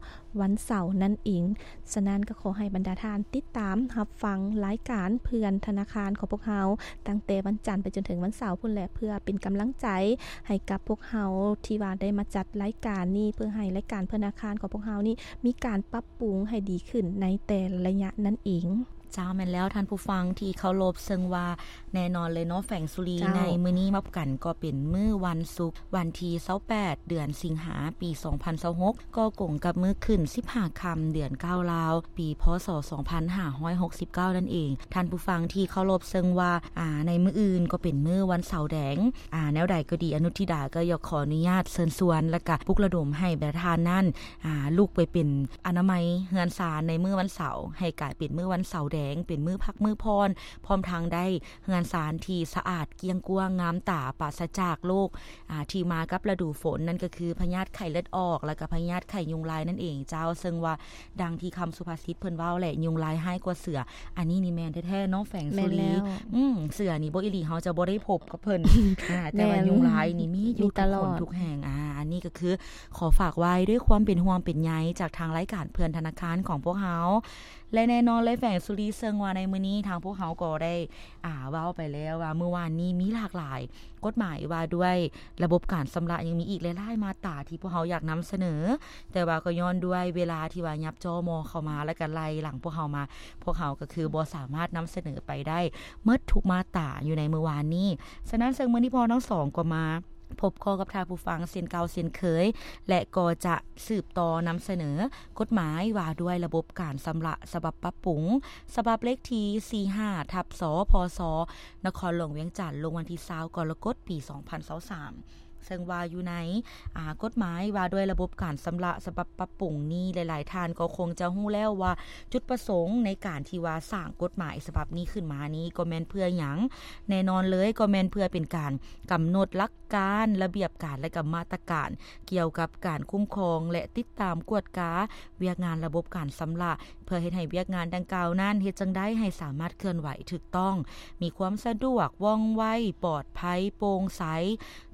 ວັນເສົານັ້ນເອງ. ສະນັ້ນກໍຂໍໃຫ້ບັນດາທ່ານຕິດຕາມຮັບຟັງລາຍການເພື່ອນທະນາຄານຂອງພວກເຮົາ ຕັ້ງແຕ່ວັນຈັນໄປຈົນເຖິງວັນເສົາພຸ້ນແຫຼະ ເພື່ອເປັນກຳລັງໃຈໃຫ້ກັບພວກເຮົາທີ່ວ່າໄດ້ມາຈັດລາຍການນີ້ ເພື່ອໃຫ້ລາຍການເພື່ອນທະນາຄານຂອງພວກເຮົານີ້ ມີການປັບປຸງໃຫ້ດີຂຶ້ນໃນແຕ່ລະໄລຍະນັ້ນເອງ. ເຈົ້າ ແມ່ນແລ້ວທ່ານຜູ້ຟັງທີ່ເຄົາລົບ, ເຊິ່ງວ່າແນ່ນອນເລີຍເນາະ ແຝງສຸລີ, ເຈົ້າ ໃນມື້ນີ້ມາພົບກັນກໍເປັນມື້ວັນສຸກ ວັນທີຊາວແປດ ເດືອນສິງຫາ ປີສອງພັນຊາວຫົກ ກໍກົງກັບມື້ຂຶ້ນສິບຫ້າຄ່ຳ ເດືອນເກົ້າລາວ ປີ ພ.ສ. ສອງພັນຫ້າຮ້ອຍຫົກສິບເກົ້ານັ້ນເອງ. ທ່ານຜູ້ຟັງທີ່ເຄົາລົບ, ເຊິ່ງວ່າ ອາ ໃນມື້ອື່ນກໍເປັນມື້ວັນເສົາແດງ. ອາ ແນວໃດກໍດີ, ອະນຸທິດາກໍຢາກຂໍອະນຸຍາດເຊີນຊວນ ແລະກະປຸກລະດົມໃຫ້ບັນດາທ່ານນັ້ນ ອາ ລຸກໄປເປັນອະນາໄມເຮືອນຊານໃນມື້ວັນເສົາ ໃຫ້ກາຍເປັນມື້ວັນເສົາແດງ. ງ ເປັນມື້ພັກມື້ຜ່ອນ ພ້ອມທັງໄດ້ເຮືອນຊານທີ່ສະອາດ ກ້ຽງກວ້າງ ງາມຕາ ປາສະຈາກໂລກ ອ່າ ທີ່ມາກັບລະດູຝົນ ນັ້ນກໍຄືພະຍາດໄຂ້ເລືອດອອກ ແລ້ວກໍພະຍາດໄຂ້ຍຸງລາຍນັ້ນເອງເຈົ້າ. ເຊິ່ງວ່າ ດັ່ງທີ່ຄຳສຸພາສິດເພິ່ນເວົ້າແຫຼະ ຍຸງລາຍຮ້າຍກວ່າເສືອ. ອັນນີ້ນີ້ແມ່ນແທ້ໆເນາະ ແຝງສຸລີ. ອືມ ເສືອນີ້ບໍ່ອີ່ຫຼີ ເຮົາຈະບໍ່ໄດ້ພົບກັບເພິ່ນ ອ່າ ແຕ່ວ່າຍຸງລາຍນີ້ມີຢູ່ທຸກຄົນທຸກແຫ່ງ. ອ່າ ອັນນີ້ກໍຄືຂໍຝາກໄວ້ດ້ວຍຄວາມເປັນຫ່ວງເປັນໃຍ ຈາກທາງລາຍການເພື່ອນທະນາຄານຂອງພວກເຮົາ ແລະ ແນ່ນອນເລີຍ ແຝງສຸລີ ເຊິ່ງວ່າໃນມື້ນີ້ທາງພວກເຮົາກໍໄດ້ ອ່າ ເວົ້າໄປແລ້ວວ່າ ມື້ວານນີ້ມີຫຼາກຫຼາຍ ກົດໝາຍວ່າດ້ວຍລະບົບການຊຳລະ ຍັງມີອີກຫຼາຍໆມາດຕາທີ່ພວກເຮົາຢາກນຳສະເໜີ, ແຕ່ວ່າກໍຍ້ອນດ້ວຍເວລາທີ່ວ່າຫຍັບຈໍ່ມໍ່ເຂົ້າມາ ແລ້ວກໍໄລ່ຫຼັງພວກເຮົາມາ, ພວກເຮົາກໍຄືບໍ່ສາມາດນຳສະເໜີໄປໄດ້ໝົດທຸກມາດຕາຢູ່ໃນມື້ວານນີ້. ສະນັ້ນ ເຊິ່ງມື້ນີ້ພວກເຮົາທັງສອງກໍມາພົບພໍ້ກັບທ່ານຜູ້ຟັງເຊັ່ນເກົ່າເຊັ່ນເຄີຍ ແລະ ກໍຈະສືບຕໍ່ນຳສະເໜີກົດໝາຍວ່າດ້ວຍລະບົບການຊຳລະ ສະບັບປັບປຸງ ສະບັບເລກທີສີ່ຫ້າ ທັບ ສພສ ນະຄອນຫຼວງວຽງຈັນ ລົງວັນທີຊາວ ກໍລະກົດ ປີສອງພັນຊາວສາມ ເຊິ່ງວ່າຢູ່ໃນ ອ່າ ກົດໝາຍວ່າດ້ວຍລະບົບການຊຳລະສະບັບປັບປຸງນີ້ ຫຼາຍໆທ່ານກໍຄົງຈະຮູ້ແລ້ວວ່າ ຈຸດປະສົງໃນການທີ່ວ່າສ້າງກົດໝາຍສະບັບນີ້ຂຶ້ນມານີ້ ກໍແມ່ນເພື່ອຫຍັງ? ແນ່ນອນເລີຍ ກໍແມ່ນເພື່ອເປັນການກຳນົດຫຼັກການ, ລະບຽບການ ແລະ ກໍມາດຕະການກ່ຽວກັບການຄຸ້ມຄອງ ແລະ ຕິດຕາມກວດກາວຽກງານລະບົບການຊຳລະ ເພື່ອເຮັດໃຫ້ວຽກງານດັ່ງກ່າວນັ້ນ ເຮັດຈັ່ງໃດໃຫ້ສາມາດເຄື່ອນໄຫວຖືກຕ້ອງ, ມີຄວາມສະດວກ, ວ່ອງໄວ, ປອດໄພ, ໂປ່ງໃສ,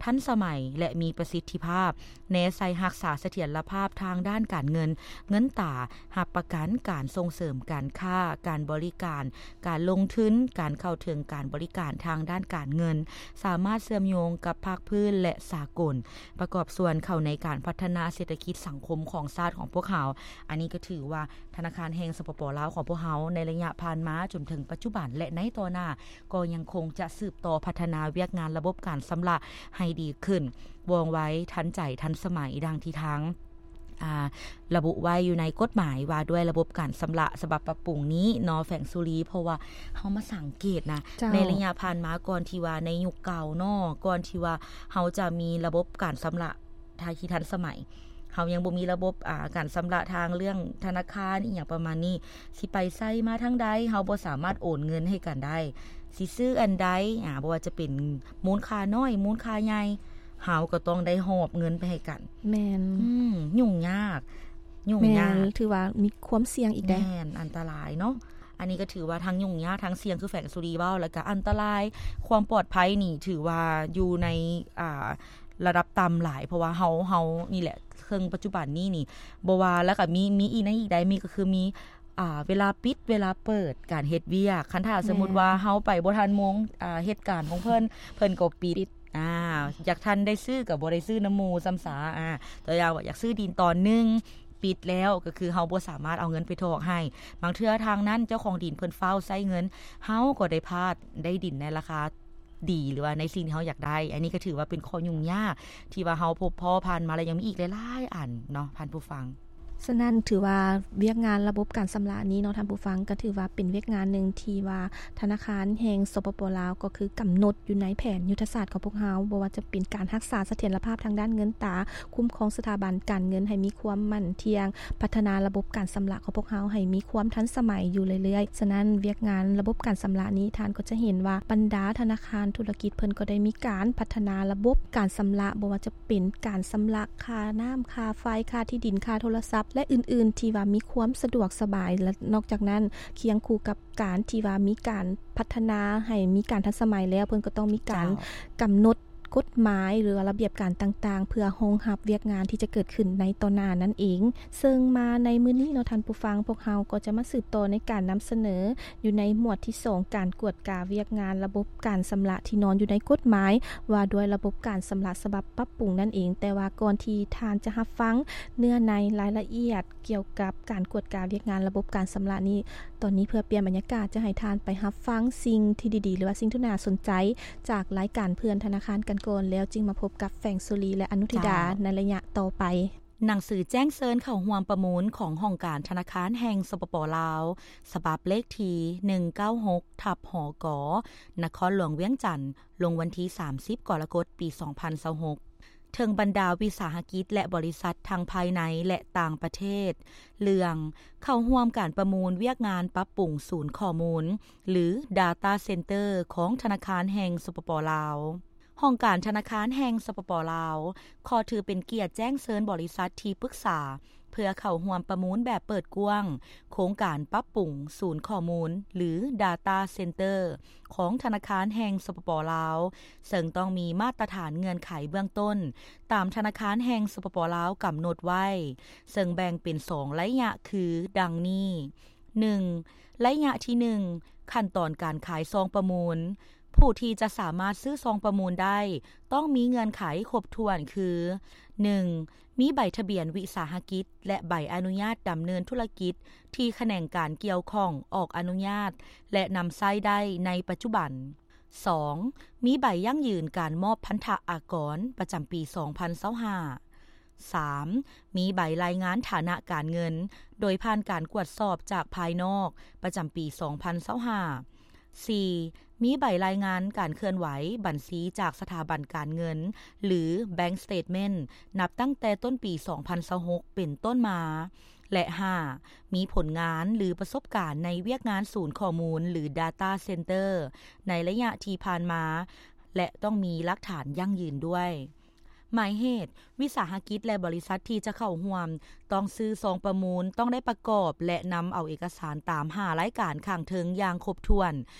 ທັນສະໄໝ ແລະ ມີປະສິດທິພາບ, ແນໃສ່ຮັກສາສະຖຽນລະພາບທາງດ້ານການເງິນ, ເງິນຕາ, ຮັບປະກັນການສົ່ງເສີມການຄ້າ, ການບໍລິການ, ການລົງທຶນ, ການເຂົ້າເຖິງການບໍລິການທາງດ້ານການເງິນ, ສາມາດເຊື່ອມໂຍງກັບພາກພື້ນ ແລະ ສາກົນ, ປະກອບສ່ວນເຂົ້າໃນການພັດທະນາເສດຖະກິດສັງຄົມຂອງຊາດຂອງພວກເຮົາ. ອັນນີ້ກໍຖືວ່າ ທະນາຄານແຫ່ງ ສປປ ລາວ ຂອງພວກເຮົາໃນໄລຍະຜ່ານມາຈົນເຖິງປັດຈຸບັນ ແລະ ໃນຕໍ່ໜ້າ ກໍຍັງຄົງຈະສືບຕໍ່ພັດທະນາວຽກງານລະບົບການຊຳລະໃຫ້ດີຂຶ້ນ, ວ່ອງໄວ, ທັນໃຈ, ທັນສະໄໝ ດັ່ງທີ່ທາງ ອ່າ ລະບຸໄວ້ຢູ່ໃນກົດໝາຍວ່າດ້ວຍລະບົບການຊຳລະສະບັບປັບປຸງນີ້ເນາະ ແຝງສຸລີ. ເພາະວ່າເຮົາມາສັງເກດນະ ເຈົ້າ ໃນໄລຍະຜ່ານມາ ກ່ອນທີ່ວ່າໃນຍຸກເກົ່າເນາະ ກ່ອນທີ່ວ່າເຮົາຈະມີລະບົບການຊຳລະ ທີ່ທັນສະໄໝ, ເຮົາຍັງບໍ່ມີລະບົບ ອ່າ ການຊຳລະທາງເລື່ອງທະນາຄານອີ່ຫຍັງປະມານນີ້, ຊິໄປໃສມາທາງໃດ ເຮົາບໍ່ສາມາດໂອນເງິນໃຫ້ກັນໄດ້, ຊິຊື້ອັນໃດ ອ່າ ບໍ່ວ່າຈະເປັນມູນຄ່ານ້ອຍ ມູນຄ່າໃຫຍ່ ເຮົາກໍຕ້ອງໄດ້ຫອບເງິນໄປໃຫ້ກັນ. ແມ່ນ. ອືມ ຫຍຸ້ງຍາກ ຫຍຸ້ງຍາກ. ແມ່ນ ຖືວ່າມີຄວາມສ່ຽງອີກເດ້. ແມ່ນ ອັນຕະລາຍເນາະ. ອັນນີ້ກໍຖືວ່າທັງຫຍຸ້ງຍາກ ທັງສ່ຽງ ຄືແຝງສຸລີເວົ້າ, ແລ້ວກໍອັນຕະລາຍ, ຄວາມປອດໄພນີ້ຖືວ່າຢູ່ໃນ ອ່າ ລະດັບຕ່ຳຫຼາຍ, ເພາະວ່າເຮົາ ເຮົານີ້ແຫຼະ ເຄິ່ງປັດຈຸບັນນີ້ນີ້ ບໍ່ວ່າ ແລ້ວກໍມີ ມີອີກໃນອີກໃດ ມີກໍຄືມີ ອ່າ ເວລາປິດ ເວລາເປີດ ການເຮັດວຽກ. ຄັນຖ້າສົມມຸດວ່າເຮົາໄປບໍ່ທັນໂມງ ອ່າ ເຮັດການຂອງເພິ່ນ ເພິ່ນກໍປິດ. ອ່າ ຢາກທັນໄດ້ຊື້ກໍບໍ່ໄດ້ຊື້ນຳໝູ່ຊ້ຳສາ. ອ່າ ຕົວຢ່າງວ່າຢາກຊື້ດິນຕອນໜຶ່ງ ປິດແລ້ວ ກໍຄືເຮົາບໍ່ສາມາດເອົາເງິນໄປຖອກໃຫ້. ບາງເທື່ອທາງນັ້ນເຈົ້າຂອງດິນເພິ່ນຟ້າວໃຊ້ເງິນ ເຮົາກໍໄດ້ພາດ ໄດ້ດິນໃນລາຄາດີ ຫຼືວ່າໃນສິ່ງທີ່ເຮົາຢາກໄດ້. ອັນນີ້ກໍຖືວ່າເປັນຂໍ້ຫຍຸ້ງຍາກທີ່ວ່າເຮົາພົບພໍ້ຜ່ານມາ ແລະ ຍັງມີອີກຫຼາຍໆອັນເນາະ ທ່ານຜູ້ຟັງ. ສະນັ້ນຖືວ່າວຽກງານລະບົບການຊຳລະນີ້ເນາະ ທ່ານຜູ້ຟັງ, ກໍຖືວ່າເປັນວຽກງານໜຶ່ງທີ່ວ່າທະນາຄານແຫ່ງ ສປປ ລາວ ກໍຄືກຳນົດຢູ່ໃນແຜນຍຸດທະສາດຂອງພວກເຮົາ, ບໍ່ວ່າຈະເປັນການຮັກສາສະຖຽນລະພາບທາງດ້ານເງິນຕາ, ຄຸ້ມຄອງສະຖາບັນການເງິນໃຫ້ມີຄວາມໝັ້ນທ່ຽງ, ພັດທະນາລະບົບການຊຳລະຂອງພວກເຮົາໃຫ້ມີຄວາມທັນສະໄໝຢູ່ເລື້ອຍໆ. ສະນັ້ນ ວຽກງານລະບົບການຊຳລະນີ້ ທ່ານກໍຈະເຫັນວ່າບັນດາທະນາຄານທຸລະກິດເພິ່ນກໍໄດ້ມີການພັດທະນາລະບົບການຊຳລະ, ບໍ່ວ່າຈະ ເປັນການຊຳລະຄ່ານ້ຳ, ຄ່າໄຟ, ຄ່າທີ່ດິນ, ຄ່າໂທລະສັບ ແລະ ອື່ນໆ ທີ່ວ່າມີຄວາມສະດວກສະບາຍ. ແລະ ນອກຈາກນັ້ນ ຄຽງຄູ່ກັບການທີ່ວ່າມີການພັດທະນາໃຫ້ມີການທັນສະໄໝແລ້ວ, ເພິ່ນກໍຕ້ອງມີການ ເຈົ້າ ກຳນົດກົດໝາຍ ຫຼືວ່າລະບຽບການຕ່າງໆ ເພື່ອຮອງຮັບວຽກງານທີ່ຈະເກີດຂຶ້ນໃນຕໍ່ໜ້ານັ້ນເອງ. ເຊິ່ງມາໃນມື້ນີ້ເນາະ ທ່ານຜູ້ຟັງ, ພວກເຮົາກໍຈະມາສືບຕໍ່ໃນການນຳສະເໜີ ຢູ່ໃນໝວດທີສອງ ການກວດກາວຽກງານລະບົບການຊຳລະທີ່ນອນຢູ່ໃນກົດໝາຍວ່າດ້ວຍລະບົບການຊຳລະສະບັບປັບປຸງນັ້ນເອງ. ແຕ່ວ່າກ່ອນທີ່ທ່ານຈະຮັບຟັງເນື້ອໃນລາຍລະອຽດກ່ຽວກັບການກວດກາວຽກງານລະບົບການຊຳລະນີ້, ຕອນນີ້ເພື່ອປ່ຽນບັນຍາກາດ ຈະໃຫ້ທ່ານໄປຮັບຟັງສິ່ງທີ່ດີໆ ຫຼືວ່າສິ່ງທີ່ໜ້າສົນໃຈຈາກລາຍການເພື່ອນທະນາຄານກັນກ່ອນ, ແລ້ວຈຶ່ງມາພົບກັບແຝງສຸລີ ແລະ ອະນຸທິດາ ເຈົ້າ ໃນໄລຍະຕໍ່ໄປ. ໜັງສືແຈ້ງເຊີນເຂົ້າຮ່ວມປະມູນຂອງຫ້ອງການທະນາຄານແຫ່ງ ສປປ ລາວ ສະບັບເລກທີໜຶ່ງເກົ້າຫົກ ທັບ ຫກ ນະຄອນຫຼວງວຽງຈັນ ລົງວັນທີສາມສິບ ກໍລະກົດ ປີສອງພັນຊາວຫົກ. ເຖິງບັນດາວິສາຫະກິດ ແລະ ບໍລິສັດທັງພາຍໃນ ແລະ ຕ່າງປະເທດ ເລື່ອງເຂົ້າຮ່ວມການປະມູນວຽກງານປັບປຸງສູນຂໍ້ມູນ ຫຼື Data Center ຂອງທະນາຄານແຫ່ງ ສປປ ລາວ. ຫ້ອງການທະນາຄານແຫ່ງ ສປປ ລາວ ຂໍຖືເປັນກຽດແຈ້ງເຊີນບໍລິສັດທີ່ປຶກສາ ເພື່ອເຂົ້າຮ່ວມປະມູນແບບເປີດກວ້າງ ໂຄງການປັບປຸງສູນຂໍ້ມູນ ຫຼື Data Center ຂອງທະນາຄານແຫ່ງ ສປປ ລາວ ເຊິ່ງຕ້ອງມີມາດຕະຖານເງື່ອນໄຂເບື້ອງຕົ້ນ ຕາມທະນາຄານແຫ່ງ ສປປ ລາວ ກຳນົດໄວ້ ເຊິ່ງແບ່ງເປັນສອງໄລຍະຄື ດັ່ງນີ້: ໜຶ່ງ, ໄລຍະທີໜຶ່ງ ຂັ້ນຕອນການຂາຍຊອງປະມູນ. ຜູ້ທີ່ຈະສາມາດຊື້ຊອງປະມູນໄດ້ ຕ້ອງມີເງື່ອນໄຂຄົບຖ້ວນຄື ໜຶ່ງ, ມີໃບທະບຽນວິສາຫະກິດ ແລະ ໃບອະນຸຍາດດຳເນີນທຸລະກິດ ທີ່ຂະແໜງການກ່ຽວຂ້ອງອອກອະນຸຍາດ ແລະ ນຳໃຊ້ໄດ້ໃນປັດຈຸບັນ. ສອງ, ມີໃບຢັ້ງຢືນການມອບພັນທະອາກອນປະຈຳປີສອງພັນຊາວຫ້າ. ສາມ, ມີໃບລາຍງານຖານະການເງິນ ໂດຍຜ່ານການກວດສອບຈາກພາຍນອກປະຈຳປີສອງພັນຊາວຫ້າ. ສີ່, ມີໃບລາຍງານການເຄື່ອນໄຫວບັນຊີຈາກສະຖາບັນການເງິນ ຫຼື Bank Statement ນັບຕັ້ງແຕ່ຕົ້ນປີສອງພັນຊາວຫົກເປັນຕົ້ນມາ. ແລະ ຫ້າ, ມີຜົນງານ ຫຼື ປະສົບການໃນວຽກງານສູນຂໍ້ມູນ ຫຼື Data Center ໃນໄລຍະທີ່ຜ່ານມາ ແລະ ຕ້ອງມີຫຼັກຖານຢັ້ງຢືນດ້ວຍ. ໝາຍເຫດ, ວິສາຫະກິດ ແລະ ບໍລິສັດທີ່ຈະເຂົ້າຮ່ວມ ຕ້ອງຊື້ຊອງປະມູນ, ຕ້ອງໄດ້ປະກອບ ແລະ ນຳເອົາເອກະສານຕາມຫ້າລາຍການຂ້າງເທິງຢ່າງຄົບຖ້ວນ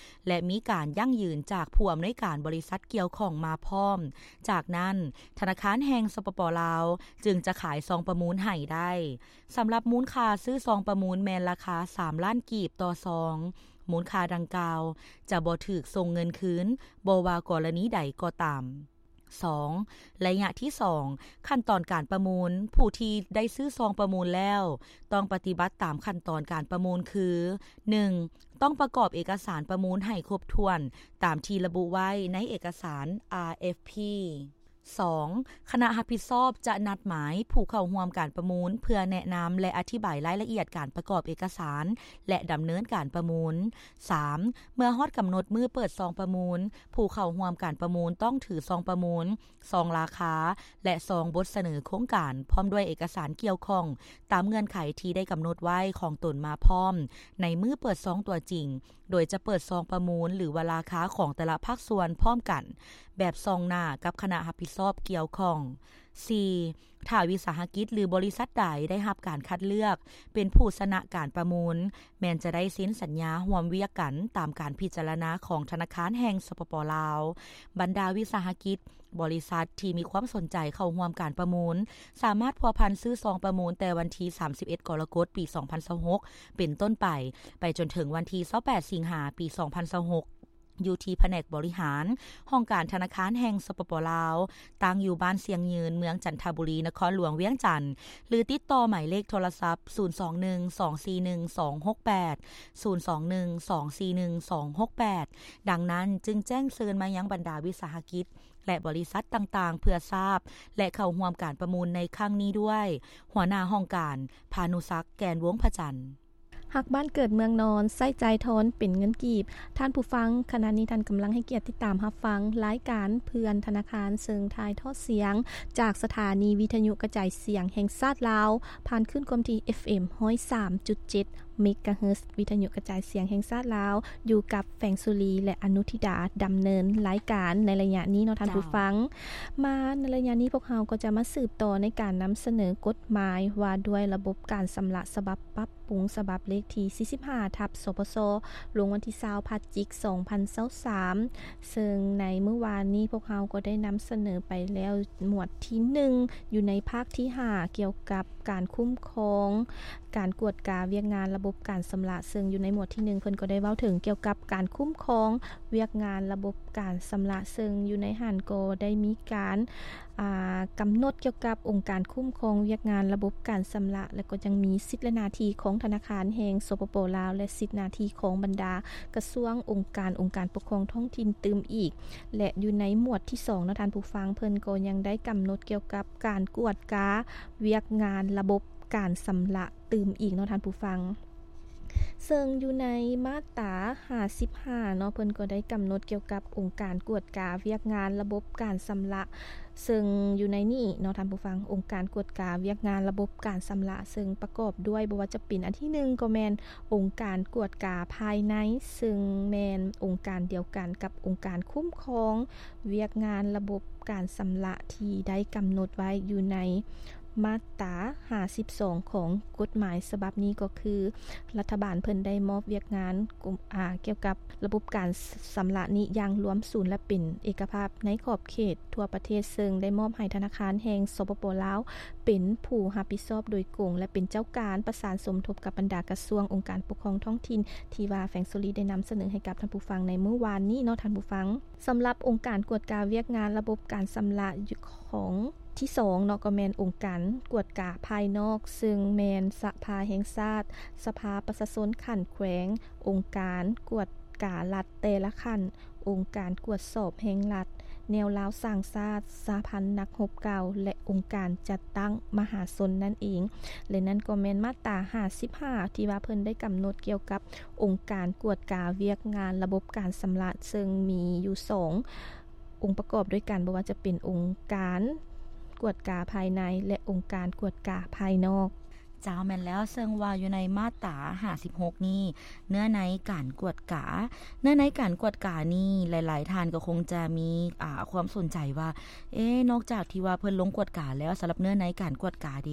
ແລະ ມີການຢັ້ງຢືນຈາກຜູ້ອຳນວຍການບໍລິສັດກ່ຽວຂ້ອງມາພ້ອມ. ຈາກນັ້ນ, ທະນາຄານແຫ່ງ ສປປ ລາວ ຈຶ່ງຈະຂາຍຊອງປະມູນໃຫ້ໄດ້. ສຳລັບມູນຄ່າຊື້ຊອງປະມູນແມ່ນລາຄາສາມລ້ານກີບຕໍ່ຊອງ. ມູນຄ່າດັ່ງກ່າວຈະບໍ່ຖືກສົ່ງເງິນຄືນ, ບໍ່ວ່າກໍລະນີໃດກໍຕາມ. ສອງ, ໄລຍະທີສອງ, ຂັ້ນຕອນການປະມູນ. ຜູ້ທີ່ໄດ້ຊື້ຊອງປະມູນແລ້ວ ຕ້ອງປະຕິບັດຕາມຂັ້ນຕອນການປະມູນຄື ໜຶ່ງ, ຕ້ອງປະກອບເອກະສານປະມູນໃຫ້ຄົບຖ້ວນຕາມທີ່ລະບຸໄວ້ໃນເອກະສານ ອາ ເອັຟ ພີ. ສອງ, ຄະນະຮັບຜິດຊອບຈະນັດໝາຍຜູ້ເຂົ້າຮ່ວມການປະມູນເພື່ອແນະນຳ ແລະ ອະທິບາຍລາຍລະອຽດການປະກອບເອກະສານ ແລະ ດຳເນີນການປະມູນ. ສາມ, ເມື່ອຮອດກຳນົດມື້ເປີດຊອງປະມູນ, ຜູ້ເຂົ້າຮ່ວມການປະມູນຕ້ອງຖືຊອງປະມູນ, ຊອງລາຄາ ແລະ ຊອງບົດສະເໜີໂຄງການ ພ້ອມດ້ວຍເອກະສານກ່ຽວຂ້ອງຕາມເງື່ອນໄຂທີ່ໄດ້ກຳນົດໄວ້ຂອງຕົນມາພ້ອມໃນມື້ເປີດຊອງຕົວຈິງ, ໂດຍຈະເປີດຊອງປະມູນ ຫຼືວ່າລາຄາຂອງແຕ່ລະພາກສ່ວນພ້ອມກັນ ແບບສ່ອງໜ້າກັບຄະນະຮັບຜິດຊອບກ່ຽວຂ້ອງ. ສີ່, ຖ້າວິສາຫະກິດ ຫຼື ບໍລິສັດໃດໄດ້ຮັບການຄັດເລືອກເປັນຜູ້ຊະນະການປະມູນ, ແມ່ນຈະໄດ້ເຊັນສັນຍາຮ່ວມວຽກກັນຕາມການພິຈາລະນາຂອງທະນາຄານແຫ່ງ ສປປ ລາວ. ບັນດາວິສາຫະກິດ, ບໍລິສັດທີ່ມີຄວາມສົນໃຈເຂົ້າຮ່ວມການປະມູນ ສາມາດພົວພັນຊື້ຊອງປະມູນແຕ່ວັນທີສາມສິບເອັດ ກໍລະກົດ ປີສອງພັນຊາວຫົກ ເປັນຕົ້ນໄປ, ໄປຈົນເຖິງວັນທີຊາວແປດ ສິງຫາ ປີສອງພັນຊາວຫົກ ຢູ່ທີ່ພະແນກບໍລິຫານ ຫ້ອງການທະນາຄານແຫ່ງ ສປປ ລາວ, ຕັ້ງຢູ່ບ້ານຊຽງຍືນ, ເມືອງຈັນທະບູລີ, ນະຄອນຫຼວງວຽງຈັນ ຫຼື ຕິດຕໍ່ໝາຍເລກໂທລະສັບ ສູນສອງໜຶ່ງ ສອງສີ່ໜຶ່ງ ສອງຫົກແປດ, ສູນສອງໜຶ່ງ ສອງສີ່ໜຶ່ງ ສອງຫົກແປດ. ດັ່ງນັ້ນ, ຈຶ່ງແຈ້ງເຊີນມາຍັງບັນດາວິສາຫະກິດ ແລະ ບໍລິສັດຕ່າງໆ ເພື່ອຊາບ ແລະ ເຂົ້າຮ່ວມການປະມູນໃນຄັ້ງນີ້ດ້ວຍ. ຫົວໜ້າຫ້ອງການ ພານຸສັກ ແກ່ນວົງພະຈັນ. ຮັກບ້ານເກີດເມືອງນອນ, ໃຊ້ຈ່າຍທອນເປັນເງິນກີບ. ທ່ານຜູ້ຟັງ, ຂະນະນີ້ທ່ານກຳລັງໃຫ້ກຽດຕິດຕາມຮັບຟັງລາຍການເພື່ອນທະນາຄານ ເຊິ່ງຖ່າຍທອດສຽງຈາກສະຖານີວິທະຍຸກະຈາຍສຽງແຫ່ງຊາດລາວ ຜ່ານຄື້ນຄວາມຖີ່ ເອັຟເອັມ ຮ້ອຍສາມຈຸດເຈັດ ເມກາເຮີດ ວິທະຍຸກະຈາຍສຽງແຫ່ງຊາດລາວ ຢູ່ກັບແຟງສຸລີ ແລະ ອະນຸທິດາ ດຳເນີນລາຍການໃນໄລຍະນີ້ເນາະທ່ານຜູ້ຟັງ. ມາໃນໄລຍະນີ້ພວກເຮົາກໍຈະມາສືບຕໍ່ໃນການນຳສະເໜີກົດໝາຍວ່າດ້ວຍລະບົບການຊຳລະສະບັບປັບປຸງ ສະບັບເລກທີສີ່ສິບຫ້າ ທັບ ສປຊ ລົງວັນທີຊາວ ພະຈິກ ສອງພັນຊາວສາມ ເຊິ່ງໃນມື້ວານນີ້ພວກເຮົາກໍໄດ້ນຳສະເໜີໄປແລ້ວໝວດທີໜຶ່ງ ຢູ່ໃນພາກທີຫ້າ ກ່ຽວກັບການຄຸ້ມຄອງ ການກວດກາວຽກງານລະບົບການຊຳລະ, ເຊິ່ງຢູ່ໃນໝວດທີໜຶ່ງ ເພິ່ນກໍໄດ້ເວົ້າເຖິງກ່ຽວກັບການຄຸ້ມຄອງວຽກງານລະບົບການຊຳລະ, ເຊິ່ງຢູ່ໃນຫັ້ນກໍໄດ້ມີການ ອ່າ ກຳນົດກ່ຽວກັບອົງການຄຸ້ມຄອງວຽກງານລະບົບການຊຳລະ ແລະ ກໍຍັງມີສິດ ແລະ ໜ້າທີ່ຂອງທະນາຄານແຫ່ງ ສປປ ລາວ ແລະ ສິດ ໜ້າທີ່ຂອງບັນດາກະຊວງ, ອົງການ, ອົງການປົກຄອງທ້ອງຖິ່ນຕື່ມອີກ ແລະ ຢູ່ໃນໝວດທີສອງເນາະທ່ານຜູ້ຟັງ, ເພິ່ນກໍຍັງໄດ້ກຳນົດກ່ຽວກັບການກວດກາວຽກງານລະບົບການຊຳລະ ຕື່ມອີກເນາະທ່ານຜູ້ຟັງ. ເຊິ່ງຢູ່ໃນມາດຕາຫ້າສິບຫ້າເນາະ ເພິ່ນກໍໄດ້ກຳນົດກ່ຽວກັບອົງການກວດກາວຽກງານລະບົບການຊຳລະ ເຊິ່ງຢູ່ໃນນີ້ເນາະທ່ານຜູ້ຟັງ, ອົງການກວດກາວຽກງານລະບົບການຊຳລະ ເຊິ່ງປະກອບດ້ວຍ ບໍ່ວ່າຈະເປັນອັນທີໜຶ່ງກໍແມ່ນອົງການກວດກາພາຍໃນ ເຊິ່ງແມ່ນອົງການດຽວກັນກັບອົງການຄຸ້ມຄອງວຽກງານລະບົບການຊຳລະ ທີ່ໄດ້ກຳນົດໄວ້ຢູ່ໃນມາດຕາຫ້າສິບສອງຂອງກົດໝາຍສະບັບນີ້ ກໍຄື ລັດຖະບານເພິ່ນໄດ້ມອບວຽກງານ ກົມ ອາ ກ່ຽວກັບລະບົບການຊຳລະນີ້ຢ່າງລວມສູນ ແລະ ເປັນເອກະພາບໃນຂອບເຂດທົ່ວປະເທດ, ເຊິ່ງໄດ້ມອບໃຫ້ທະນາຄານແຫ່ງ ສປປ ລາວ ເປັນຜູ້ຮັບຜິດຊອບໂດຍກົງ ແລະ ເປັນເຈົ້າການປະສານສົມທົບກັບບັນດາກະຊວງ, ອົງການປົກຄອງທ້ອງຖິ່ນ ທີ່ວ່າແຟງໂຊລີໄດ້ນຳສະເໜີໃຫ້ກັບທ່ານຜູ້ຟັງໃນມື້ວານນີ້ເນາະທ່ານຜູ້ຟັງ. ສຳລັບອົງການກວດກາວຽກງານລະບົບການຊຳລະ ຢູ່ຂອງທີສອງເນາະ ກໍແມ່ນອົງການກວດກາພາຍນອກ ເຊິ່ງແມ່ນສະພາແຫ່ງຊາດ, ສະພາປະຊາຊົນຂັ້ນແຂວງ, ອົງການກວດກາລັດແຕ່ລະຂັ້ນ, ອົງການກວດສອບແຫ່ງລັດ, ແນວລາວສ້າງຊາດ, ສະຫະພັນນັກຮົບເກົ່າ ແລະ ອົງການຈັດຕັ້ງມະຫາຊົນນັ້ນເອງ. ແລະ ນັ້ນກໍແມ່ນມາດຕາຫ້າສິບຫ້າ ທີ່ວ່າເພິ່ນໄດ້ກຳນົດກ່ຽວກັບອົງການກວດກາວຽກງານລະບົບການຊຳລະ ເຊິ່ງມີຢູ່ສອງ ອົງປະກອບດ້ວຍກັນ, ບໍ່ວ່າຈະເປັນອົງການກວດກາພາຍໃນ ແລະ ອົງການກວດກາພາຍນອກ. ເຈົ້າ, ແມ່ນແລ້ວ, ເຊິ່ງວ່າຢູ່ໃນມາດຕາຫ້າສິບຫົກນີ້ ເນື້ອໃນການກວດກາ, ເນື້ອໃນການກວດການີ້ ຫຼາຍໆທ່ານກໍຄົງຈະມີ ອາ ຄວາມສົນໃຈວ່າ ເອ ນອກຈາກທີ່ວ່າເພິ່ນລົງກວດກາແລ້ວ, ສຳລັບເນື້ອໃນການກວດກາເດ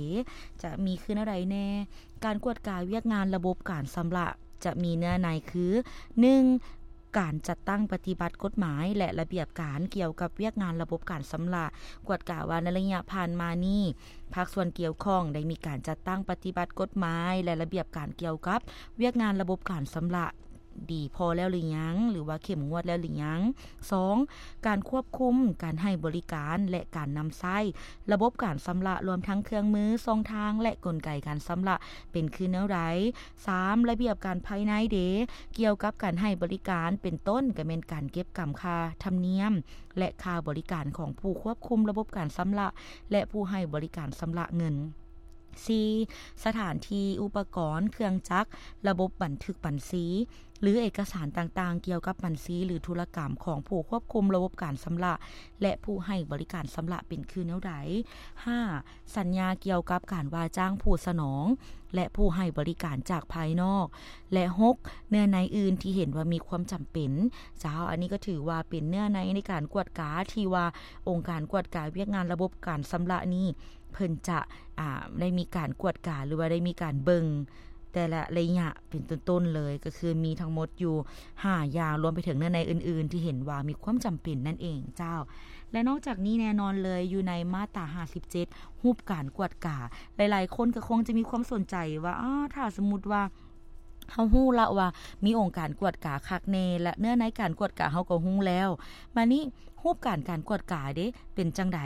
ຈະມີຄືແນວໃດແດ່? ການກວດກາວຽກງານລະບົບການຊຳລະ ຈະມີເນື້ອໃນຄື ໜຶ່ງ ການຈັດຕັ້ງປະຕິບັດກົດໝາຍ ແລະ ລະບຽບການກ່ຽວກັບວຽກງານລະບົບການຊຳລະ, ກວດກາວ່າໃນໄລຍະຜ່ານມານີ້ ພາກສ່ວນກ່ຽວຂ້ອງໄດ້ມີການຈັດຕັ້ງປະຕິບັດກົດໝາຍ ແລະ ລະບຽບການກ່ຽວກັບວຽກງານລະບົບການຊຳລະດີພໍແລ້ວຫຼືຍັງ ຫຼືວ່າເຂັ້ມງວດແລ້ວຫຼືຍັງ. ສອງ ການຄວບຄຸມການໃຫ້ບໍລິການ ແລະ ການນຳໃຊ້ລະບົບການຊຳລະ ລວມທັງເຄື່ອງມື, ຊ່ອງທາງ ແລະ ກົນໄກການຊຳລະ ເປັນຄືແນວໃດ? ສາມ ລະບຽບການພາຍໃນເດ ກ່ຽວກັບການໃຫ້ບໍລິການ ເປັນຕົ້ນກະແມ່ນການເກັບກຳຄ່າທຳນຽມ ແລະ ຄ່າບໍລິການຂອງຜູ້ຄວບຄຸມລະບົບການຊຳລະ ແລະ ຜູ້ໃຫ້ບໍລິການຊຳລະເງິນ. ສີ່ ສະຖານທີ່, ອຸປະກອນ, ເຄື່ອງຈັກ, ລະບົບບັນທຶກບັນຊີ ຫຼື ເອກະສານຕ່າງໆ ກ່ຽວກັບບັນຊີ ຫຼື ທຸລະກຳຂອງຜູ້ຄວບຄຸມລະບົບການຊຳລະ ແລະ ຜູ້ໃຫ້ບໍລິການຊຳລະ ເປັນຄືແນວໃດ? ຫ້າ ສັນຍາກ່ຽວກັບການວ່າຈ້າງຜູ້ສະໜອງ ແລະ ຜູ້ໃຫ້ບໍລິການຈາກພາຍນອກ ແລະ ຫົກ ເນື້ອໃນອື່ນທີ່ເຫັນວ່າມີຄວາມຈຳເປັນ. ເຈົ້າ, ອັນນີ້ກໍຖືວ່າເປັນເນື້ອໃນໃນການກວດກາທີ່ວ່າອົງການກວດກາວຽກງານລະບົບການຊຳລະນີ້ ເພິ່ນຈະ ອາ ໄດ້ມີການກວດກາ ຫຼືວ່າໄດ້ມີການເບິ່ງແຕ່ລະໄລຍະເປັນຕົ້ນໆເລີຍ, ກໍຄືມີທັງໝົດຢູ່ຫ້າຢ່າງ, ລວມໄປເຖິງເນື້ອໃນອື່ນໆທີ່ເຫັນວ່າມີຄວາມຈຳເປັນນັ້ນເອງເຈົ້າ. ແລະ ນອກຈາກນີ້ແນ່ນອນເລີຍ ຢູ່ໃນມາດຕາຫ້າສິບເຈັດ ຮູບການກວດກາ, ຫຼາຍໆຄົນກໍຄົງຈະມີຄວາມສົນໃຈວ່າ ອາ ຖ້າສົມມຸດວ່າ ເຮົາຮູ້ລະວ່າມີອົງການກວດກາຄັກແນ່ ແລະ ເນື້ອໃນການກວດກາເຮົາກໍຮູ້ແລ້ວ, ບາດນີ້ຮູບການການກວດກາເດ ເປັນຈັ່ງໃດ?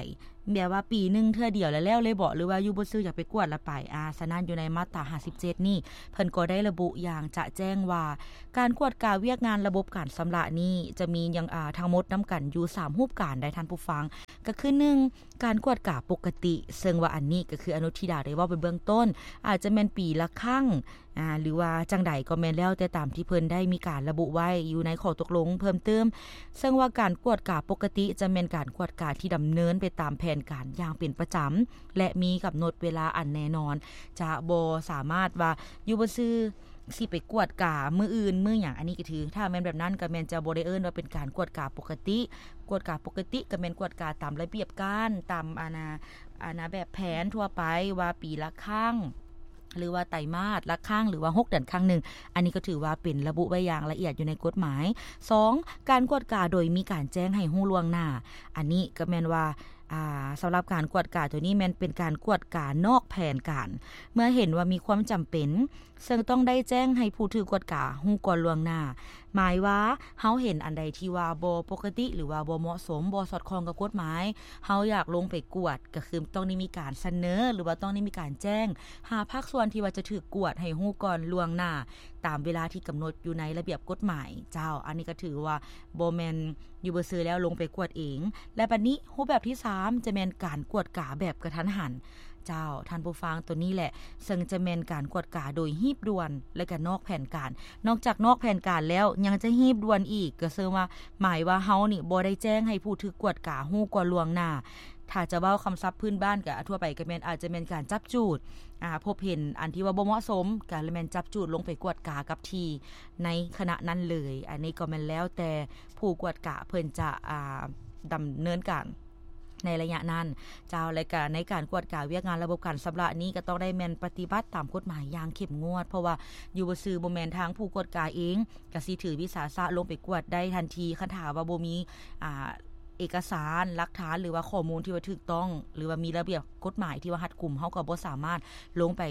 ແບບວ່າປີໜຶ່ງເທື່ອດຽວແລ້ວແລ້ວເລີຍບໍ ຫຼືວ່າຢູ່ບໍ່ຊື່ຢາກໄປກວດລະໄປ? ອາ ສະນັ້ນຢູ່ໃນມາດຕາຫ້າສິບເຈັດນີ້ ເພິ່ນກໍໄດ້ລະບຸຢ່າງຈະແຈ້ງວ່າ ການກວດກາວຽກງານລະບົບການຊຳລະນີ້ ຈະມີຢ່າງ ອາ ທັງໝົດນຳກັນຢູ່ສາມຮູບການໄດ໋ທ່ານຜູ້ຟັງ, ກໍຄື ໜຶ່ງ ການກວດກາປົກກະຕິ, ເຊິ່ງວ່າອັນນີ້ກໍຄືອະນຸທິດາໄດ້ເວົ້າໄປເບື້ອງຕົ້ນ ອາດຈະແມ່ນປີລະຄັ້ງ ອາ ຫຼືວ່າຈັ່ງໃດກໍແມ່ນ ແລ້ວແຕ່ຕາມທີ່ເພິ່ນໄດ້ມີການລະບຸໄວ້ຢູ່ໃນຂໍ້ຕົກລົງເພີ່ມເຕີມ, ເຊິ່ງວ່າການກວດກາປົກກະຕິຈະແມ່ນການກວດກາທີ່ດຳເນີນໄປຕາມແຜນການຢ່າງເປັນປະຈຳ ແລະ ມີກຳນົດເວລາອັນແນ່ນອນ, ຈະບໍ່ສາມາດວ່າຢູ່ບໍ່ຊື່ ຊິໄປກວດກາມື້ອື່ນມື້ຫຍັງ, ອັນນີ້ກໍຖື ຖ້າແມ່ນແບບນັ້ນກໍແມ່ນຈະບໍ່ໄດ້ເອີ້ນວ່າເປັນການກວດກາປົກກະຕິ. ກວດກາປົກກະຕິກໍແມ່ນກວດກາຕາມລະບຽບການ ຕາມ ອາ ນາ ອາ ນາແບບແຜນທົ່ວໄປ ວ່າປີລະຄັ້ງ ຫຼືວ່າໄຕມາດລະຄັ້ງ ຫຼືວ່າຫົກເດືອນຄັ້ງໜຶ່ງ, ອັນນີ້ກໍຖືວ່າເປັນລະບຸໄວ້ຢ່າງລະອຽດຢູ່ໃນກົດໝາຍ. ສອງ ການກວດກາໂດຍມີການແຈ້ງໃຫ້ຮູ້ລ່ວງໜ້າ, ອັນນີ້ກໍແມ່ນວ່າ ອາ ສຳລັບການກວດກາໂຕນີ້ແມ່ນເປັນການກວດການອກແຜນການ ເມື່ອເຫັນວ່າມີຄວາມຈຳເປັນ ເຊິ່ງຕ້ອງໄດ້ແຈ້ງໃຫ້ຜູ້ຖືກກວດກາຮູ້ກ່ອນລ່ວງໜ້າ. ໝາຍວ່າເຮົາເຫັນອັນໃດທີ່ວ່າບໍ່ປົກກະຕິ ຫຼືວ່າບໍ່ເໝາະສົມ, ບໍ່ສອດຄ່ອງກັບກົດໝາຍ, ເຮົາຢາກລົງໄປກວດ, ກໍຄືຕ້ອງໄດ້ມີການສະເໜີ ຫຼືວ່າຕ້ອງໄດ້ມີການແຈ້ງຫາພາກສ່ວນທີ່ວ່າຈະຖືກກວດໃຫ້ຮູ້ກ່ອນລ່ວງໜ້າ ຕາມເວລາທີ່ກຳນົດຢູ່ໃນລະບຽບກົດໝາຍ. ເຈົ້າ, ອັນນີ້ກໍຖືວ່າບໍ່ແມ່ນຢູ່ບໍ່ຊື່ແລ້ວລົງໄປກວດເອງ. ແລະ ບັດນີ້ຮູບແບບທີສາມ ຈະແມ່ນການກວດກາແບບກະທັນຫັນ. ເຈົ້າ ທ່ານຜູ້ຟັງ, ໂຕນີ້ແຫຼະເຊິ່ງຈະແມ່ນການກວດກາໂດຍຮີບດ່ວນ ແລະກະນອກແຜນການ. ນອກຈາກນອກແຜນການແລ້ວ ຍັງຈະຮີບດ່ວນອີກ, ກໍເຊິ່ງວ່າ ໝາຍວ່າເຮົານີ້ບໍ່ໄດ້ແຈ້ງໃຫ້ຜູ້ຖືກກວດກາຮູ້ກ່ອນລ່ວງໜ້າ. ຖ້າຈະເວົ້າຄຳສັບພື້ນບ້ານ ກໍທົ່ວໄປກໍແມ່ນ ອາດຈະແມ່ນການຈັບຈູດ, ອາ ພົບເຫັນອັນທີ່ວ່າບໍ່ເໝາະສົມ ກໍແມ່ນຈັບຈູດລົງໄປກວດກາກັບທີ່ໃນຂະນະນັ້ນເລີຍ. ອັນນີ້ກໍແມ່ນແລ້ວແຕ່ຜູ້ກວດກາເພິ່ນຈະ ອາ ດຳເນີນການ ໃນໄລຍະນັ້ນເຈົ້າ. ແລະກະໃນການກວດກາວຽກງານລະບົບການຊຳລະນີ້ ກໍຕ້ອງໄດ້ແມ່ນປະຕິບັດຕາມກົດໝາຍຢ່າງເຂັ້ມງວດ, ເພາະວ່າຢູ່ບໍ່ຊື່ບໍ່ແມ່ນທາງຜູ້ກວດກາເອງກະຊິຖືວິສາສະລົງໄປກວດໄດ້ທັນທີ ຄັນຖ້າວ່າບໍ່ມີ ອາ ເອກະສານ ຫຼັກຖານ ຫຼືວ່າຂໍ້ມູນທີ່ວ່າຖືກຕ້ອງ ຫຼືວ່າມີລະບຽບກົດໝາຍທີ່ວ່າຮັດກຸມ, ເຮົາກໍບໍ່ສາມາດລົງໄປ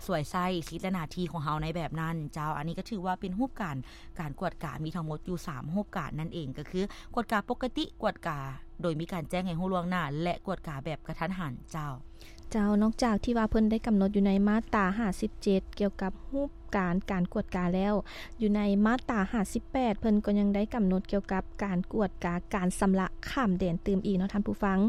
ສວຍໃຊ້ສິດ ແລະ ໜ້າທີ່ຂອງເຮົາໃນແບບນັ້ນເຈົ້າ. ອັນນີ້ກໍຖືວ່າເປັນຮູບການ ການກວດກາມີທັງໝົດຢູ່ສາມຮູບການນັ້ນເອງ, ກໍຄືກວດກາປົກກະຕິ, ກວດກາໂດຍມີການແຈ້ງໃຫ້ຮູ້ລ່ວງໜ້າ ແລະ ກວດກາແບບກະທັນຫັນເຈົ້າ. ເຈົ້າ, ນອກຈາກທີ່ວ່າເພິ່ນໄດ້ກຳນົດຢູ່ໃນມາດຕາຫ້າສິບເຈັດ ກ່ຽວກັບຮູບການການກວດກາແລ້ວ, ຢູ່ໃນມາດຕາຫ້າສິບແປດ ເພິ່ນກໍຍັງໄດ້ກຳນົດກ່ຽວກັບການກວດກາການຊຳລະຂ້າມແດນຕື່ມອີກເນາະທ່ານຜູ້ຟັງ.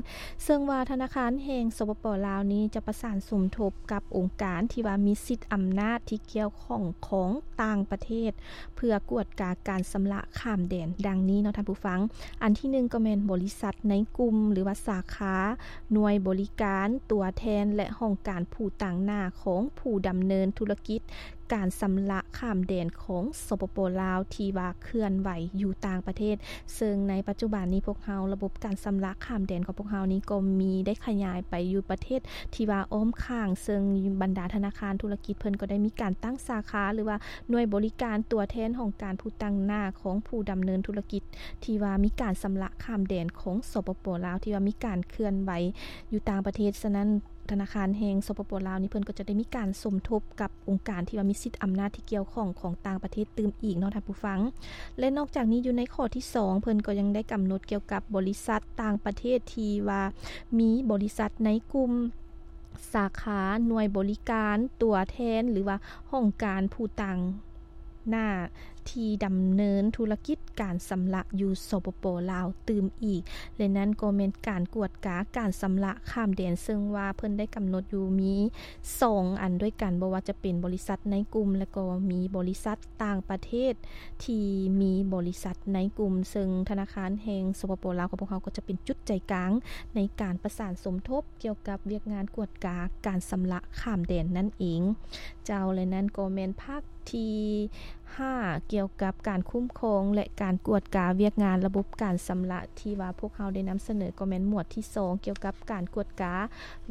ເຊິ່ງວ່າທະນາຄານແຫ່ງ ສປປ ລາວ ນີ້ຈະປະສານສົມທົບກັບອົງການທີ່ວ່າມີສິດອຳນາດທີ່ກ່ຽວຂ້ອງຂອງຕ່າງປະເທດ ເພື່ອກວດກາການຊຳລະຂ້າມແດນ ດັ່ງນີ້ເນາະທ່ານຜູ້ຟັງ. ອັນທີໜຶ່ງກໍແມ່ນບໍລິສັດໃນກຸ່ມ ຫຼືວ່າສາຂາ, ໜ່ວຍບໍລິການ, ຕົວແທນ ແລະ ຫ້ອງການຜູ້ຕາງໜ້າຂອງຜູ້ດຳເນີນທຸລະກິດການຊຳລະຂ້າມແດນຂອງ ສປປ ລາວ ທີ່ວ່າເຄື່ອນໄຫວຢູ່ຕ່າງປະເທດ. ເຊິ່ງໃນປັດຈຸບັນນີ້ພວກເຮົາ ລະບົບການຊຳລະຂ້າມແດນຂອງພວກເຮົານີ້ກໍມີໄດ້ຂະຫຍາຍໄປຢູ່ປະເທດທີ່ວ່າອ້ອມຂ້າງ, ເຊິ່ງບັນດາທະນາຄານທຸລະກິດເພິ່ນກໍໄດ້ມີການຕັ້ງສາຂາ ຫຼືວ່າ ໜ່ວຍບໍລິການຕົວແທນຫ້ອງການຜູ້ຕາງໜ້າຂອງຜູ້ດຳເນີນທຸລະກິດ ທີ່ວ່າມີການຊຳລະຂ້າມແດນຂອງ ສປປ ລາວ ທີ່ວ່າມີການເຄື່ອນໄຫວຢູ່ຕ່າງປະເທດ. ສະນັ້ນ ທະນາຄານແຫ່ງ ສປປ ລາວ ນີ້ເພິ່ນກໍຈະໄດ້ມີການສົມທົບກັບອົງການທີ່ວ່າມີສິດອຳນາດທີ່ກ່ຽວຂ້ອງຂອງຕ່າງປະເທດຕື່ມອີກເນາະທ່ານຜູ້ຟັງ. ແລະ ນອກຈາກນີ້ຢູ່ໃນຂໍ້ທີສອງ ເພິ່ນກໍຍັງໄດ້ກຳນົດກ່ຽວກັບບໍລິສັດຕ່າງປະເທດທີ່ວ່າມີບໍລິສັດໃນກຸ່ມ ສາຂາ, ໜ່ວຍບໍລິການ, ຕົວແທນ ຫຼືວ່າຫ້ອງການຜູ້ຕາງໜ້າທີ່ດຳເນີນທຸລະກິດການຊຳລະຢູ່ ສປປ ລາວ ຕື່ມອີກ ແລະ ນັ້ນກໍແມ່ນການກວດກາການຊຳລະຂ້າມແດນ, ເຊິ່ງວ່າເພິ່ນໄດ້ກຳນົດຢູ່ມີສອງອັນດ້ວຍກັນ, ບໍ່ວ່າຈະເປັນບໍລິສັດໃນກຸ່ມ ແລະ ກໍມີບໍລິສັດຕ່າງປະເທດທີ່ມີບໍລິສັດໃນກຸ່ມ, ເຊິ່ງທະນາຄານແຫ່ງ ສປປ ລາວ ຂອງພວກເຮົາກໍຈະເປັນຈຸດໃຈກາງໃນການປະສານສົມທົບ ກ່ຽວກັບວຽກງານກວດກາການຊຳລະຂ້າມແດນນັ້ນເອງເຈົ້າ. ແລະ ນັ້ນກໍແມ່ນພາກທີຫ້າ ກ່ຽວກັບການຄຸ້ມຄອງ ແລະ ການກວດກາວຽກງານລະບົບການຊຳລະ ທີ່ວ່າພວກເຮົາໄດ້ນຳສະເໜີ ກໍແມ່ນໝວດທີສອງ ກ່ຽວກັບການກວດກາ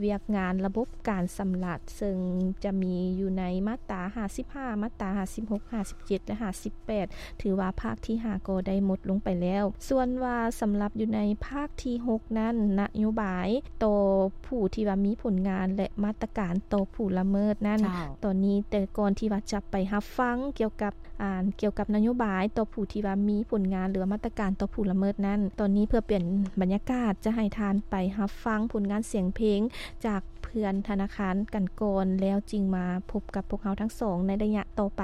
ວຽກງານລະບົບການຊຳລະ ເຊິ່ງຈະມີຢູ່ໃນມາດຕາຫ້າສິບຫ້າ ມາດຕາຫ້າສິບຫົກ ຫ້າສິບເຈັດ ແລະ ຫ້າສິບແປດ ຖືວ່າພາກທີຫ້າກໍໄດ້ໝົດລົງໄປແລ້ວ. ສ່ວນວ່າສຳລັບຢູ່ໃນພາກທີຫົກນັ້ນ ນະໂຍບາຍຕໍ່ຜູ້ທີ່ວ່າມີຜົນງານ ແລະ ມາດຕະການຕໍ່ຜູ້ລະເມີດນັ້ນ ເຈົ້າ ຕອນນີ້ ແຕ່ກ່ອນທີ່ວ່າຈະໄປຮັບຟັງກ່ຽວກັບ ອ່າ ກ່ຽວກັບນະໂຍບາຍຕໍ່ຜູ້ທີ່ວ່າມີຜົນງານ ຫຼືວ່າມາດຕະການຕໍ່ຜູ້ລະເມີດນັ້ນ, ຕອນນີ້ເພື່ອປ່ຽນບັນຍາກາດ ຈະໃຫ້ທ່ານໄປຮັບຟັງຜົນງານສຽງເພງຈາກເພື່ອນທະນາຄານກັນກ່ອນ ແລ້ວຈຶ່ງມາພົບກັບພວກເຮົາທັງສອງໃນໄລຍະຕໍ່ໄປ.